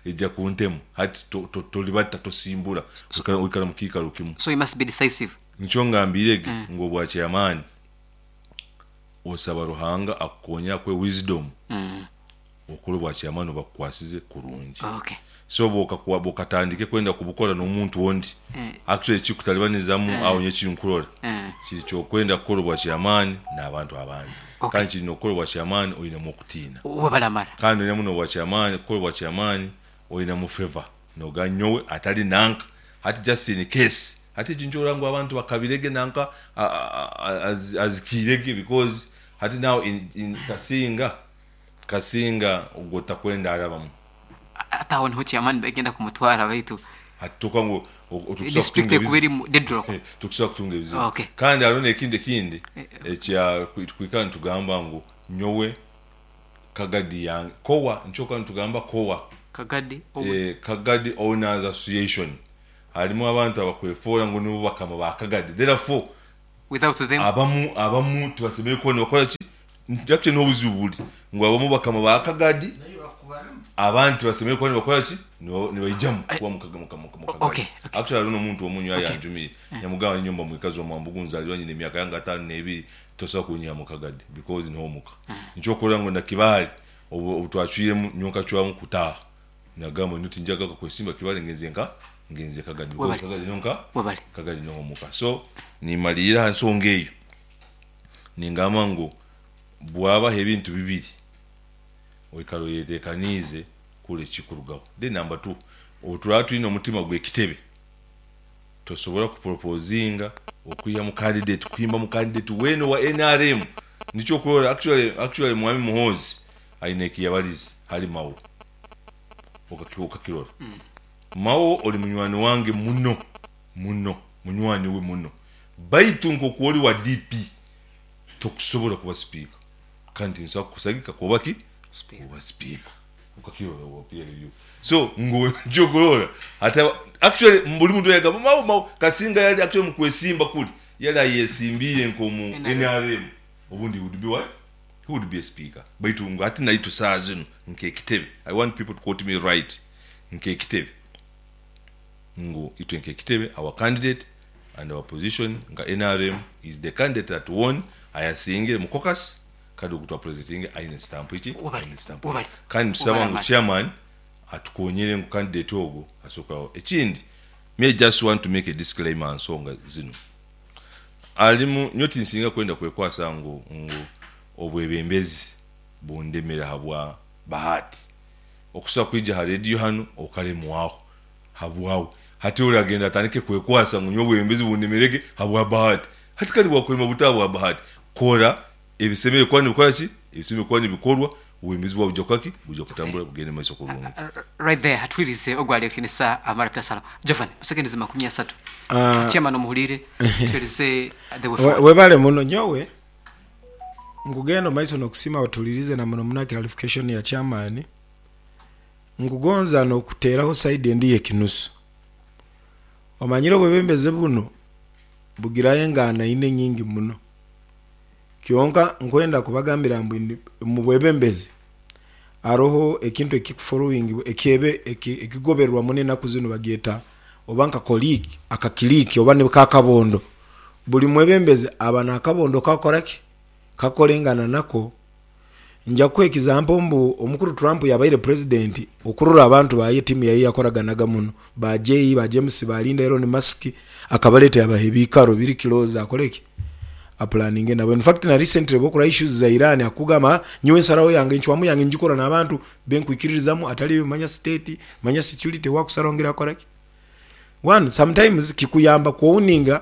Eija kuntema. Hati to- to- toribata, tosimbura, oikara oikara mu kiikaro kimu. So you must be decisive. Nikyo ngambiire ge ngu obwa chairman osaba Ruhanga akukonyere akuhe wisdom okore obwa chairman obubakukwasize kurungi. Okay. So bwokatandike kwenda kubukora n'omuntu ondi, actually ekikutalibanizamu aho nyowe ekinkurora kiri ky'okwenda kukora obwa chairman n'abantu abandi. Okay. Kandi kiri n'okukora obwa chairman oinemu okutiina. Webaramara. Kandi oinemu n'obwa chairman, kukora obwa chairman oinemu favour noga nyowe atari nanka hati just in case hati egi nikyo orora ngu abantu bakabirege nanka azikiirege because hati now in Kasinga. Kasinga ogwo takwenda arabamu. Ate aho niho chairman begenda kumutwara baitu. Hati toka ngu tukusobola District kutunga ekuba ebizibu. erimu deadlock. Tukusobola kutunga ebizibu. Okay. Kandi hariho n'ekindi ekindi ekya twikara nitugamba ngu nyowe Kagadi yange kowa nikyo okuba nitugamba kowa. Kagadi Kagadi Owners Association harimu abantu abakwefoora ngu nibo bakama ba Kagadi therefore Without them. Abamu abamu tibasemereire kuba nibakora ki? Actually niho obuzibu buri ngu abamu bakama ba Kagadi abandi tibasemereire kuba nibakora ki? Nibaijamu kuba mu Kagadi. Okay. Actually hariho n'omuntu omwe nyowe ayanjumiire yamugamba ninyowe mba mwikazi wa Mwambugu nzaalirwa nyine emyaka yange 52 tosobola kunyiha mu Kagadi because niho omuka. Nikyo okurora ngu na Kibaale obu twacwiremu nyowe nkacwamu kutaaha Nagamba nyowe tinjagaruka kwesimba Kibale ngenze nka ngenze Kagadi because Webale. Kagadi niho nka Webale. Kagadi niho omuka. So nimalirira aha nsonga eyo ningamba ngu bwabaho ebintu bibiri oikara oyetekaniize kura ekikurugaho. Then number two, obu turaba twine omutima gw'ekitebe tosobora kupropozinga okwihamu candidate kuhimbamu candidate weena owa nrm. Nikyo okurora actually actually Mwami Muhoozi aine ekiyabarize hali Mao. Okakirora. Mao oli munywani wange muno muno, munywani we muno. Baitu nk'oku oli wa DP, tokusobora kuba sipiika. Kandi tinsobola kukusagika kuba ki? Kuba sipiika. Okakirora owa PLU. So ngu nikyo okurora hati actually buli muntu yagamba Mao Mao, Kasinga yali actually mukwesimba kuli yali ayesimbiire nk'omu NRM, obundi he would be what? He would be a speaker baitu ngu hati naitwe saaha zinu nk'ekitebe, I want people to quote me right, nk'ekitebe ngu itwe nk'ekitebe our candidate and our position nka nrm is the candidate that won ayasingire mu caucus kandi ogu twapresentinge aine stamp ki? Webale, Aine stamp ye. webale, Kandi nitusaba webale ngu Amani. chairman atukonyere ngu candidate ogu asobola kurabaho. Ekindi me I just want to make a disclaimer ha nsonga zinu. Alimu nyowe tinsinga kwenda kwekwasa ngu ngu obwebembezi bundemere habwa Bahati. Okusobola kwija ha rediyo hanu okalemwaho habwawe. Hati ori agenda atandike kwekwasa ngu nyowe obwebembezi bundemerege habwa Bahati. Hati kandi bwakulema buta habwa Bahati? Kora ebisemeriire kuba nibikora ki? Ebisemeriire kuba nibikorwa, obwebembezi bwawe buja kukora ki? Buja kutambura bugende mumaiso kurungi. Right there hatuhulirize ogu ari ekinisa amara Piasalo. Jovan, mu seconds 30. Chairman omuhuliire, tuhereze the way forward. Webale muno. Nyowe nkugenda omu maiso nokusiima otuhuliriize na muno muno aha clarification ya chairman. Nkugonza nokuteraho side endi eyekinusu. Omanyire obwebembezi buno bugirayo engaana ina enyingi muno. Kyonka nkwenda kubagambira mbu omu bwebembezi haroho ekintu ekikufollowingibwa ekyebe ekigobererwa muno enaku zinu bagyeta oba nka colleague akakiliiki oba niko akabondo. Buli mwebembezi aba n'akabondo kakora ki? Kakorengana nako. Nja kukuha ekizampo mbu omukuru Trump yabaire pulezidenti okurora abantu baye tiimu yaye yakoraganaga muno ba Jay, ba James, ba Linda, Elon Musk akabaleta yabaha ebikaro biri close akore ki? Apulaninge nabo. In fact na recently bwokura issues za Iran akugamba ah nyowe ensaraho yange encwamu yange ngikora n'abantu benkwikiririzamu atari ebyo manya state, manya security wakusaraho ngira akora ki? One, sometimes kikuyamba ku owninga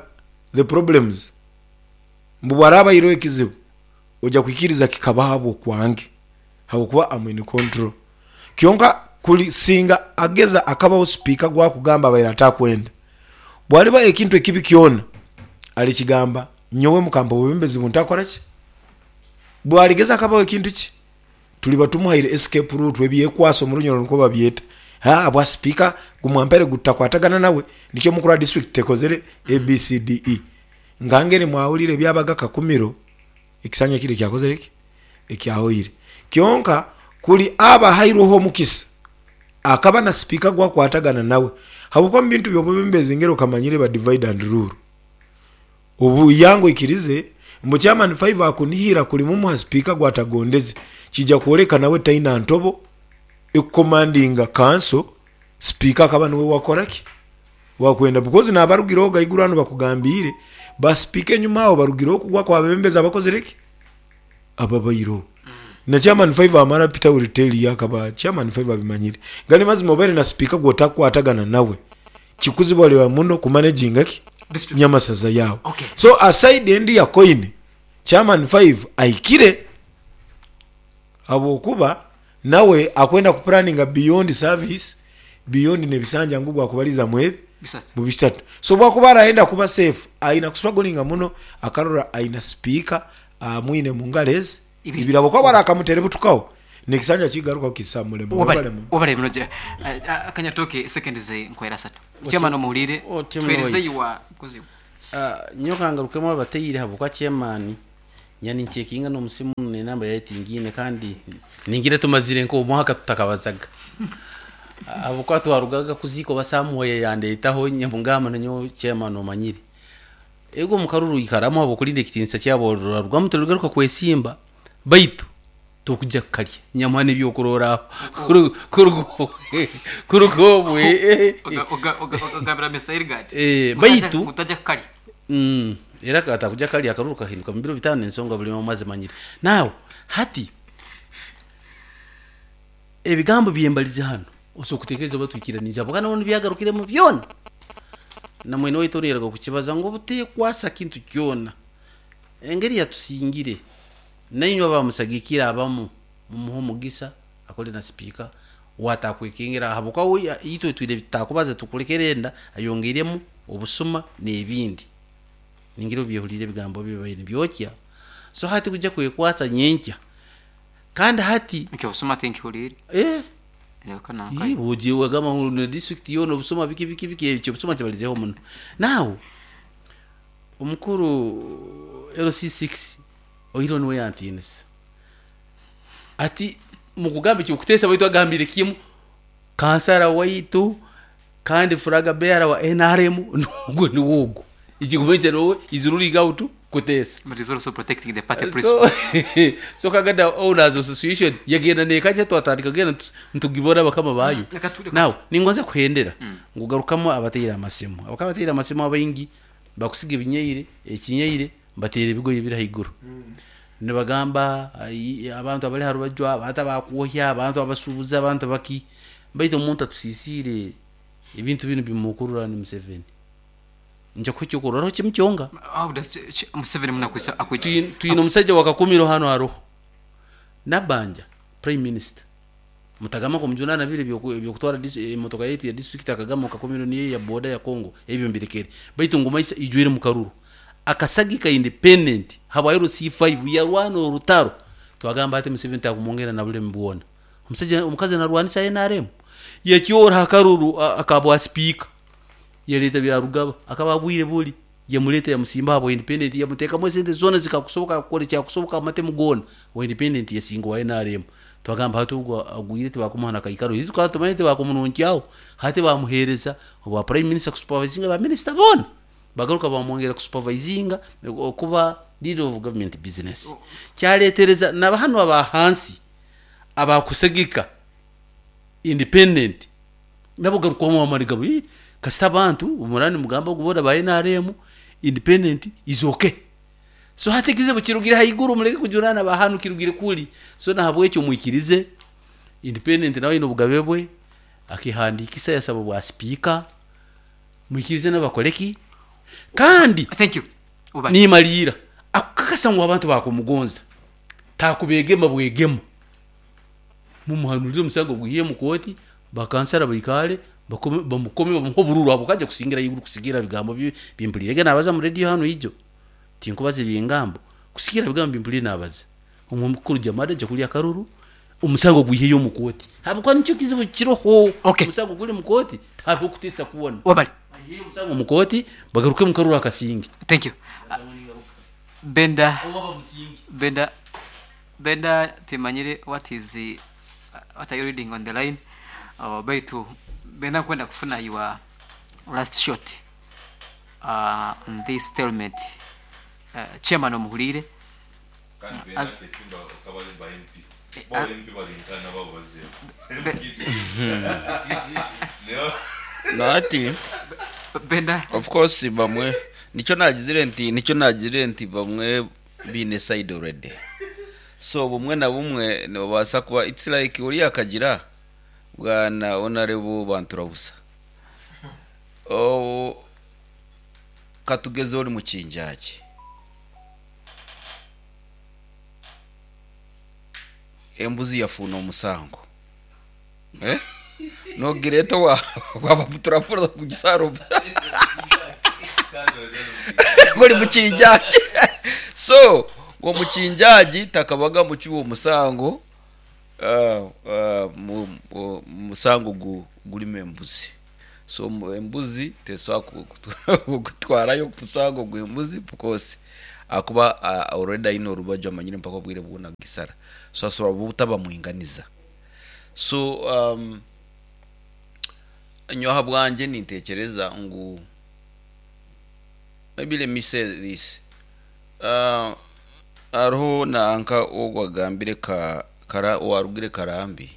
the problems mbu bwaraba aireho ekizibu oja kwikiriza kikaba ahabw'okwange habw'okuba am in control. Kyonka kuri singa ageza akabaho sipiika gwakugamba abaire atakwenda, bwalibaho ekintu ekibi kyona alikigamba nyowe mukampa obwebembezi buntakora ki? Bwaligeza akabaho ekintu ki tuliba tumuhaire escape route ebyekwaso mu Runyoro nikwo babyeta. Haa bwa sipiika gumwampaire gutakwatagana nawe nikyo mukuru wa district tekozere ABCDE. Nkangeri mwawulire ebyabaga Kakumiro ekisanja kire ekyakozire ki? Ekyahoire. Kyonka kuri aba ahairweho omukisa akaba na sipiika ogu akwatagana nawe habwokuba omu bintu by'obwebembezi ngeri okamanyire ba divide and rule. Obu yangu oikirize mbu chairman five akunihira kuri mumuha sipiika ogu atagondeze kija kwoleka nawe taina ntobo ekukomandinga kanso sipiika akaba niwe wakora ki? Wakwenda because nabarugireho ghaiguru hanu bakugambiire ba sipiika enyuma aho barugireho kugwa kwa bebembezi abakozire ki? Ababaireho. Na chairman five amara Peter will tell you akaba chairman five abimanyire. Gari mazima obaire na sipiika gwotakukwatagana nawe kikuzibuharira muno ku managinga ki? Nyamasaza yaawe. So aside endi ya coin chairman five ahikire. Habwokuba nawe akwenda ku planninga beyond service, beyond nebisanja ngu bwakubaliza mu ebi mu bisatu. So bwakuba arayenda kuba safe aina ku strugglinga muno akarora aina speaker amwine mungalo ezi ibiri habwokuba bwarakamutere butukaho nekisanja kigarukaho kisa mulema. Webale muno. Webale muno Kanyatooke seconds nkwera satu. Chairman omuhurire tuhereze your kuzibu. Nyowe kangarukemu abateire habwokuba chairman Nya nincekinga n'omusimu n'enamba yaye tingiine kandi ningira tumazire nk'omwaka tutakabazaga. Ahabw'okuba twarugaga kuziika oba Samuel yandeetaho nyamugamba nanyowe chairman omanyire. Ego omu karuru oikaramu ahabw'okurinda ekitiinisa kyabo orarugamu torigaruka kwesimba baitu tokuja kukarya nyamuha n'ebyokurorraho kuruga obwe. Ogambira Mister Irigadi Baitu ngu taja kukarya. Era akaba atakuja kukarya akaruru kahinduka mu biro bitaano ensonga buri omwe azimanyire. Now hati ebigambo byembalize hanu osobola kutekereza oba twikiraniize habwokuba nabwo nibyagarukiremu byona. Na mwene waitu onu yaruga kukibaza ngu obutekwasa kintu kyona engeri yatusingire. Nainywe abamusagikire abamu mumuhe omugisa akore na sipiika ou atakwekengera ahabw'okuba we itwe twine ebitutakubaza tukulekera enda ayongeiremu obusuma n'ebindi. Ningira obyehuriire ebigambo bye bibaire nibyokya so hati kuija kwekwatsa nyenkya kandi hati Ekyo obusuma tinkihuriire. Eh. Reka nankaye. Ii, ogiye wagamba ngu na district yoona obusuma biki biki biki ekyo obusuma kibalizeho muno. Now omukuru LC6 Oihireho niwe yantiinisa. Ati mukugamba eky'okuteesa baitu agambire kimu kansara waitu kandi flag bearer wa NRM n'ogwo niwe ogwo. Ekirikumanyisa niwe is ruling out kuteesa. But he's also protecting the party So, principle. so Kagada Owners Association yagenda nekanya twatandika kugenda nitugibona bakama bayo. Reka tu- reka Now ningonza kuhendera ngu garukamu abateire amasimu. Abakaba bateire amasimu abaingi bakusiga ebinyaire, ekinyaire Nibateera ebigoye ebiri ahaiguru. Nibagamba abantu abari aha rubaju, abantu abakwohya, abantu abashuubuzi, abantu abaki. Baitu omuntu atusiisiire ebintu binu bimukurura ni Museveni. Nija kuha ekyokurorraho kimu kyonka. Twine omusaija wa Kakumiro hanu aroho, Nabbanja, Prime Minister. Mutagamba ngu omujunana biri eby'okutwara emotoka yaitu ya disiturikiti akagamba ngu Kakumiro niyo eya boda ya Congo, ebyo mbirekere. Baitu ngu Maisa ijwire mu karuru. Akasagika independent habwa LC5 yarwana orutaro. Twagamba hati Museveni takumwongera na bulemi bwona. Omusaija omukazi narwanisa nrm. Yakyora ha karuru aka bwa sipiika. Yaleta Byarugaba akaba agwire buri. Yamureeta yamusimba ahabwa independent yamuteekamu esente zoona ezikakusoboka kukora ekyakusoboka amatemu goona owa independent yasinga owa nrm. Twagamba hati ogu agwire tibakumuha na kaikaro itwe tukaba tumanyire tibakumununkyaho hati bamuhereza obwa prime minister kusupervisinga ba minister boona bagaruka bamwongera kusupervisinga okuba leader of government business. Kyaretereza na hanu aba hansi abakusagika independent Nabo garukwamu amani gabo, Ii, kasita abantu muraba nimugamba ngu boona ba nrm, independent is okay. So hati ekizibu kirugire haiguru mureke kujunaana ba hanu kirugire kuri. So nahabwekyo mwikirize independent nawe aine obugabe bwe, akehandiikisa yasaba obwa sipiika, mwikirize nabo bakore ki? Kandi Thank you. Ubale. nimaliira, akukakasa ngu abantu bakumugonza, takubegema bwegema. Mumuhanurire omusango gwihe omu kooti, bakansara baikaare bamukome bamuhe obururu ahabw'okuba aija kusingira haiguru kusigiirira bigambo bi mpuriire naabaza omu rediyo hanu ijo. Tinkubaza ebingambo, kusigiirira bigambo bi mpuriire naabaza. Omukuru Jamada aija kurya akaruru, omusango gwiheyo omu kooti ahabw'okuba nikyo kizibu kiroho. Omusango guri omu kooti tihariho kuteesa kwona. Baiheyo omusango omu kooti bagaruke omu karuru akasinge. Thank you. Benda, Benda. Benda timanyire what is what are you reading on the line oh, baitu benda nkwenda kufuna your last shot on this stalemate chairman omuhuriire Kandi benda akesimba akaba ari ba MP. Bo MP bari nkana babo bazemu. Nati Benda of course bamwe nikyo nagizire nti nikyo nagizire nti bamwe baine side already so bumwe na bumwe nibabaasa kuba it's like oriya akagira bwana honourable Banturabusa oh, katugeze ori mukinjaagi Embuzi yafuuna omusango. Eh? Nogireeta owa waba turafura kugisaara omu guri mukinjaagi. So ngu omukinjaagi takabaga mucwi w'omusango ah, ah, mu- mu- musango gu- gurimu embuzi. So embuzi tesobola kutwarayo omusango gw'embuzi because ahakuba already aine orubaju amanyire mpaka obwire bwona kugisara. So asobola butaba mwinganiza. So um, nyowe ahabwangye nintekyereza ngu maybe let me say this uh, hariho nanka ogu agambire ka, kara, owarugire Karambi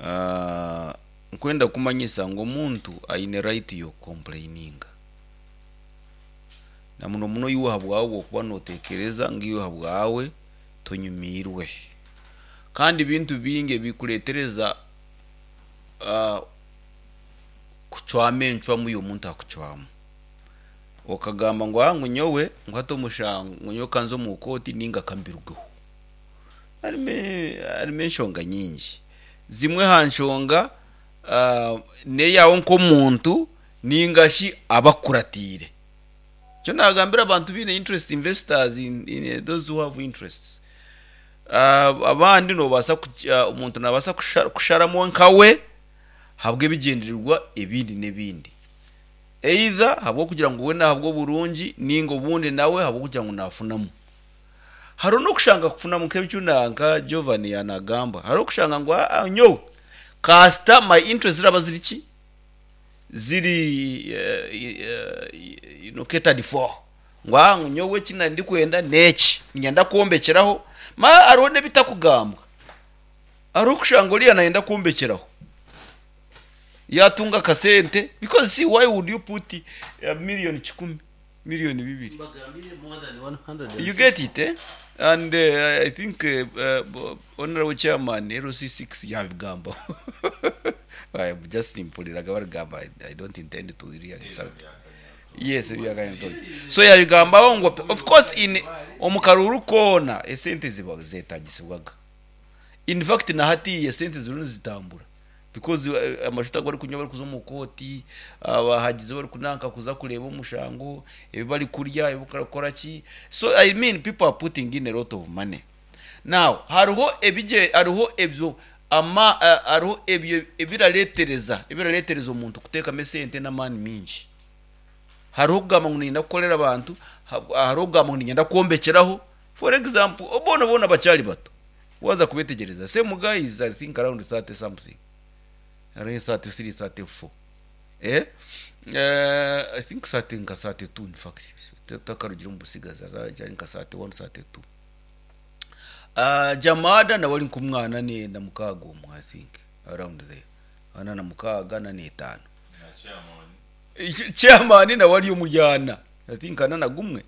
uh, nkwenda kumanyisa ngu omuntu aine right y'okucomplaininga na muno muno iwe ahabwawe bwokuba notekereza ngu iwe ahabwawe tonyumiirwe. Kandi ebintu bingi ebikuretereza kucwamu encwamu y'omuntu akucwamu. Okagamba ngu aa ngu nyowe ngu hati omushango ngu nyowe kanze omu kooti ninga kambirugeho. Harimu harimu enshonga nyingi. Zimwe aha nshonga n'eyaawe nk'omuntu ninga shi abakukuratiire. Nikyo naagambira abantu baine interest investors in, in those who have interests. Abandi noobaasa omuntu naabaasa kusharamu nkawe ahabw'ebigyendererwa ebindi n'ebindi. Either ahabw'okugira ngu we n'ahabw'oburungi nainga obundi nawe ahabw'okugira ngu naafunamu. Hariho n'okushanga kufunamu nk'eki nka Jovan yaanagamba, hariho okushanga ngu aa nyowe kasita my interest ziraba ziri ki? Ziri you know catered for. Ngu aa ngu nyowe eki ndikwenda n'eki, niinyenda kwombekyeraho. Manya hariho n'ebitakugambwa. Hariho okushanga oriya nayenda kwombekyeraho, yaatunga akasente because see why would you put million kikumi, million bibiri? You get it eh? And I think honourable chairman LC6 yaabigambaho. I am just mpuriraga barigamba I don't intend to really insult. Yes, ebyakanyatoki. So yabigambaho ngu of course in omu karuuru koona esente ziba zetagisibwaga. In fact na hatiiya esente ziriyo nizitambura because amashuta agu barikunywa barikuza omu kooti, abahagizi barikunanka kuza kureeba omushango, ebi barikurya, ebi barikukora ki. So I mean people are putting in a lot of money. Now hariho ebigye hariho ebyo ama hariho ebyo ebirareetereza ebirareetereza omuntu kuteekamu esente n'amaani maingi. Hariho okugamba ngu niinyenda kukorera abantu, hariho okugamba ngu niinyenda kwombekyeraho. For example, boona boona bakyari bato waaza kubeetegyereza same guy is I think around 30 something, around 33, 34 eh, I think 30 nka 32 in fact, takarugire omu butsigazi arakyari nka 31, 32. Jamada nawe ari nk'omwana na mukaaga omwe I think around there, ana na mukaaga ana n'etaano. Chairman nawe ari omuri ana, I think ana na gumwe,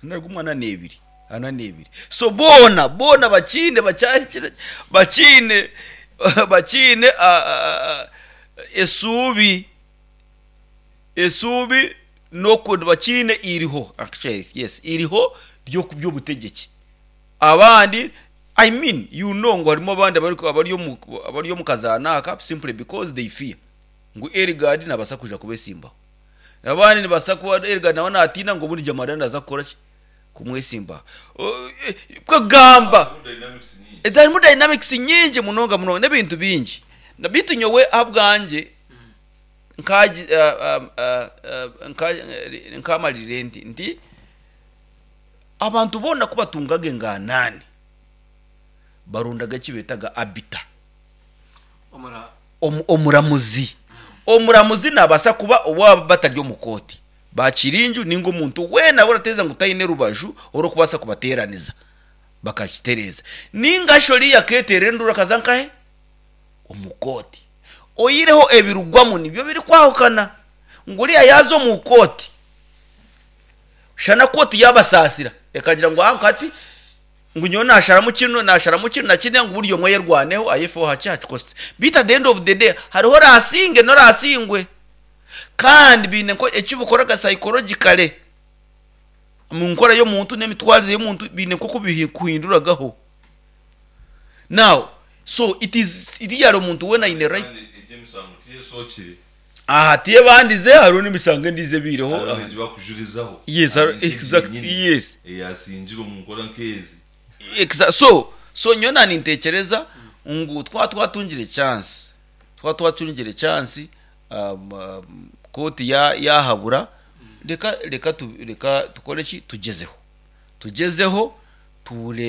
ana na gumwe ana n'ebiri, ana n'ebiri. So boona boona bakiine bakyahikire bakiine bakiine esuubi esuubi n'oku bakiine eiriho actually yes eiriho ry'okuby'obutegyeki. Abandi I mean you know ngu harimu abandi abari omu abari omu kazaano aka simply because they fear ngu Eligard nabaasa kwija kubesimbaho. Abandi nibaasa kuba Eligard nawe natiina ngu obundi Jamarira naaza kukora ki? Kumwesimbaho. Kugamba harimu dynamics nyingi munonga munonga n'ebintu bingi. Beitu nyowe ahabwangye nkamarire nti nti Abantu boona ku batungaga enganani, barondaga eki beetaga arbiter, omuramuzi. Omuramuzi naabaasa kuba owaaba batari omu kooti, baakirinju nainga omuntu weena ou orateeza ngu taine rubaju orurikubaasa kubateeraniza bakakitereeza. Nainga shi oriya akeeteerera enduuru akaza nkahe? Omu kooti. Oihireho ebirugwamu nibyo birikwahukana. Ngu oriya yaaza omu kooti, Shana kooti yaabasaasira ekagira ngu aha hati ngu nyowe naasharamu kinu, naasharamu kinu na kiriya ngu buri omwe ayerwaneho ayefeho hakye aha kikosi. Beitu at the end of the day hariho oraasinge n'oraasingwe. Kandi baine eki bukoraga psychologically omu nkora y'omuntu n'emitwarize y'omuntu baine nk'oku bikuhinduragaho. Now so it is really omuntu weena aine right. Kandi egyo emisango tiyesookire. Aha tiyebandize hariho n'emisango endiijo ebaireho. Hariho egi bakujurizaho. Yes, Hariho nk'egi exactly, yenyini yes. eyasingire omu nkora nk'ezi. So, so nyowe nanintekyereza ngu twaba twatungire chance, twaba twatungire chance um, um, kooti ya yahabura reka reka tu, reka tukore ki tugyezeho tugyezeho tureebe.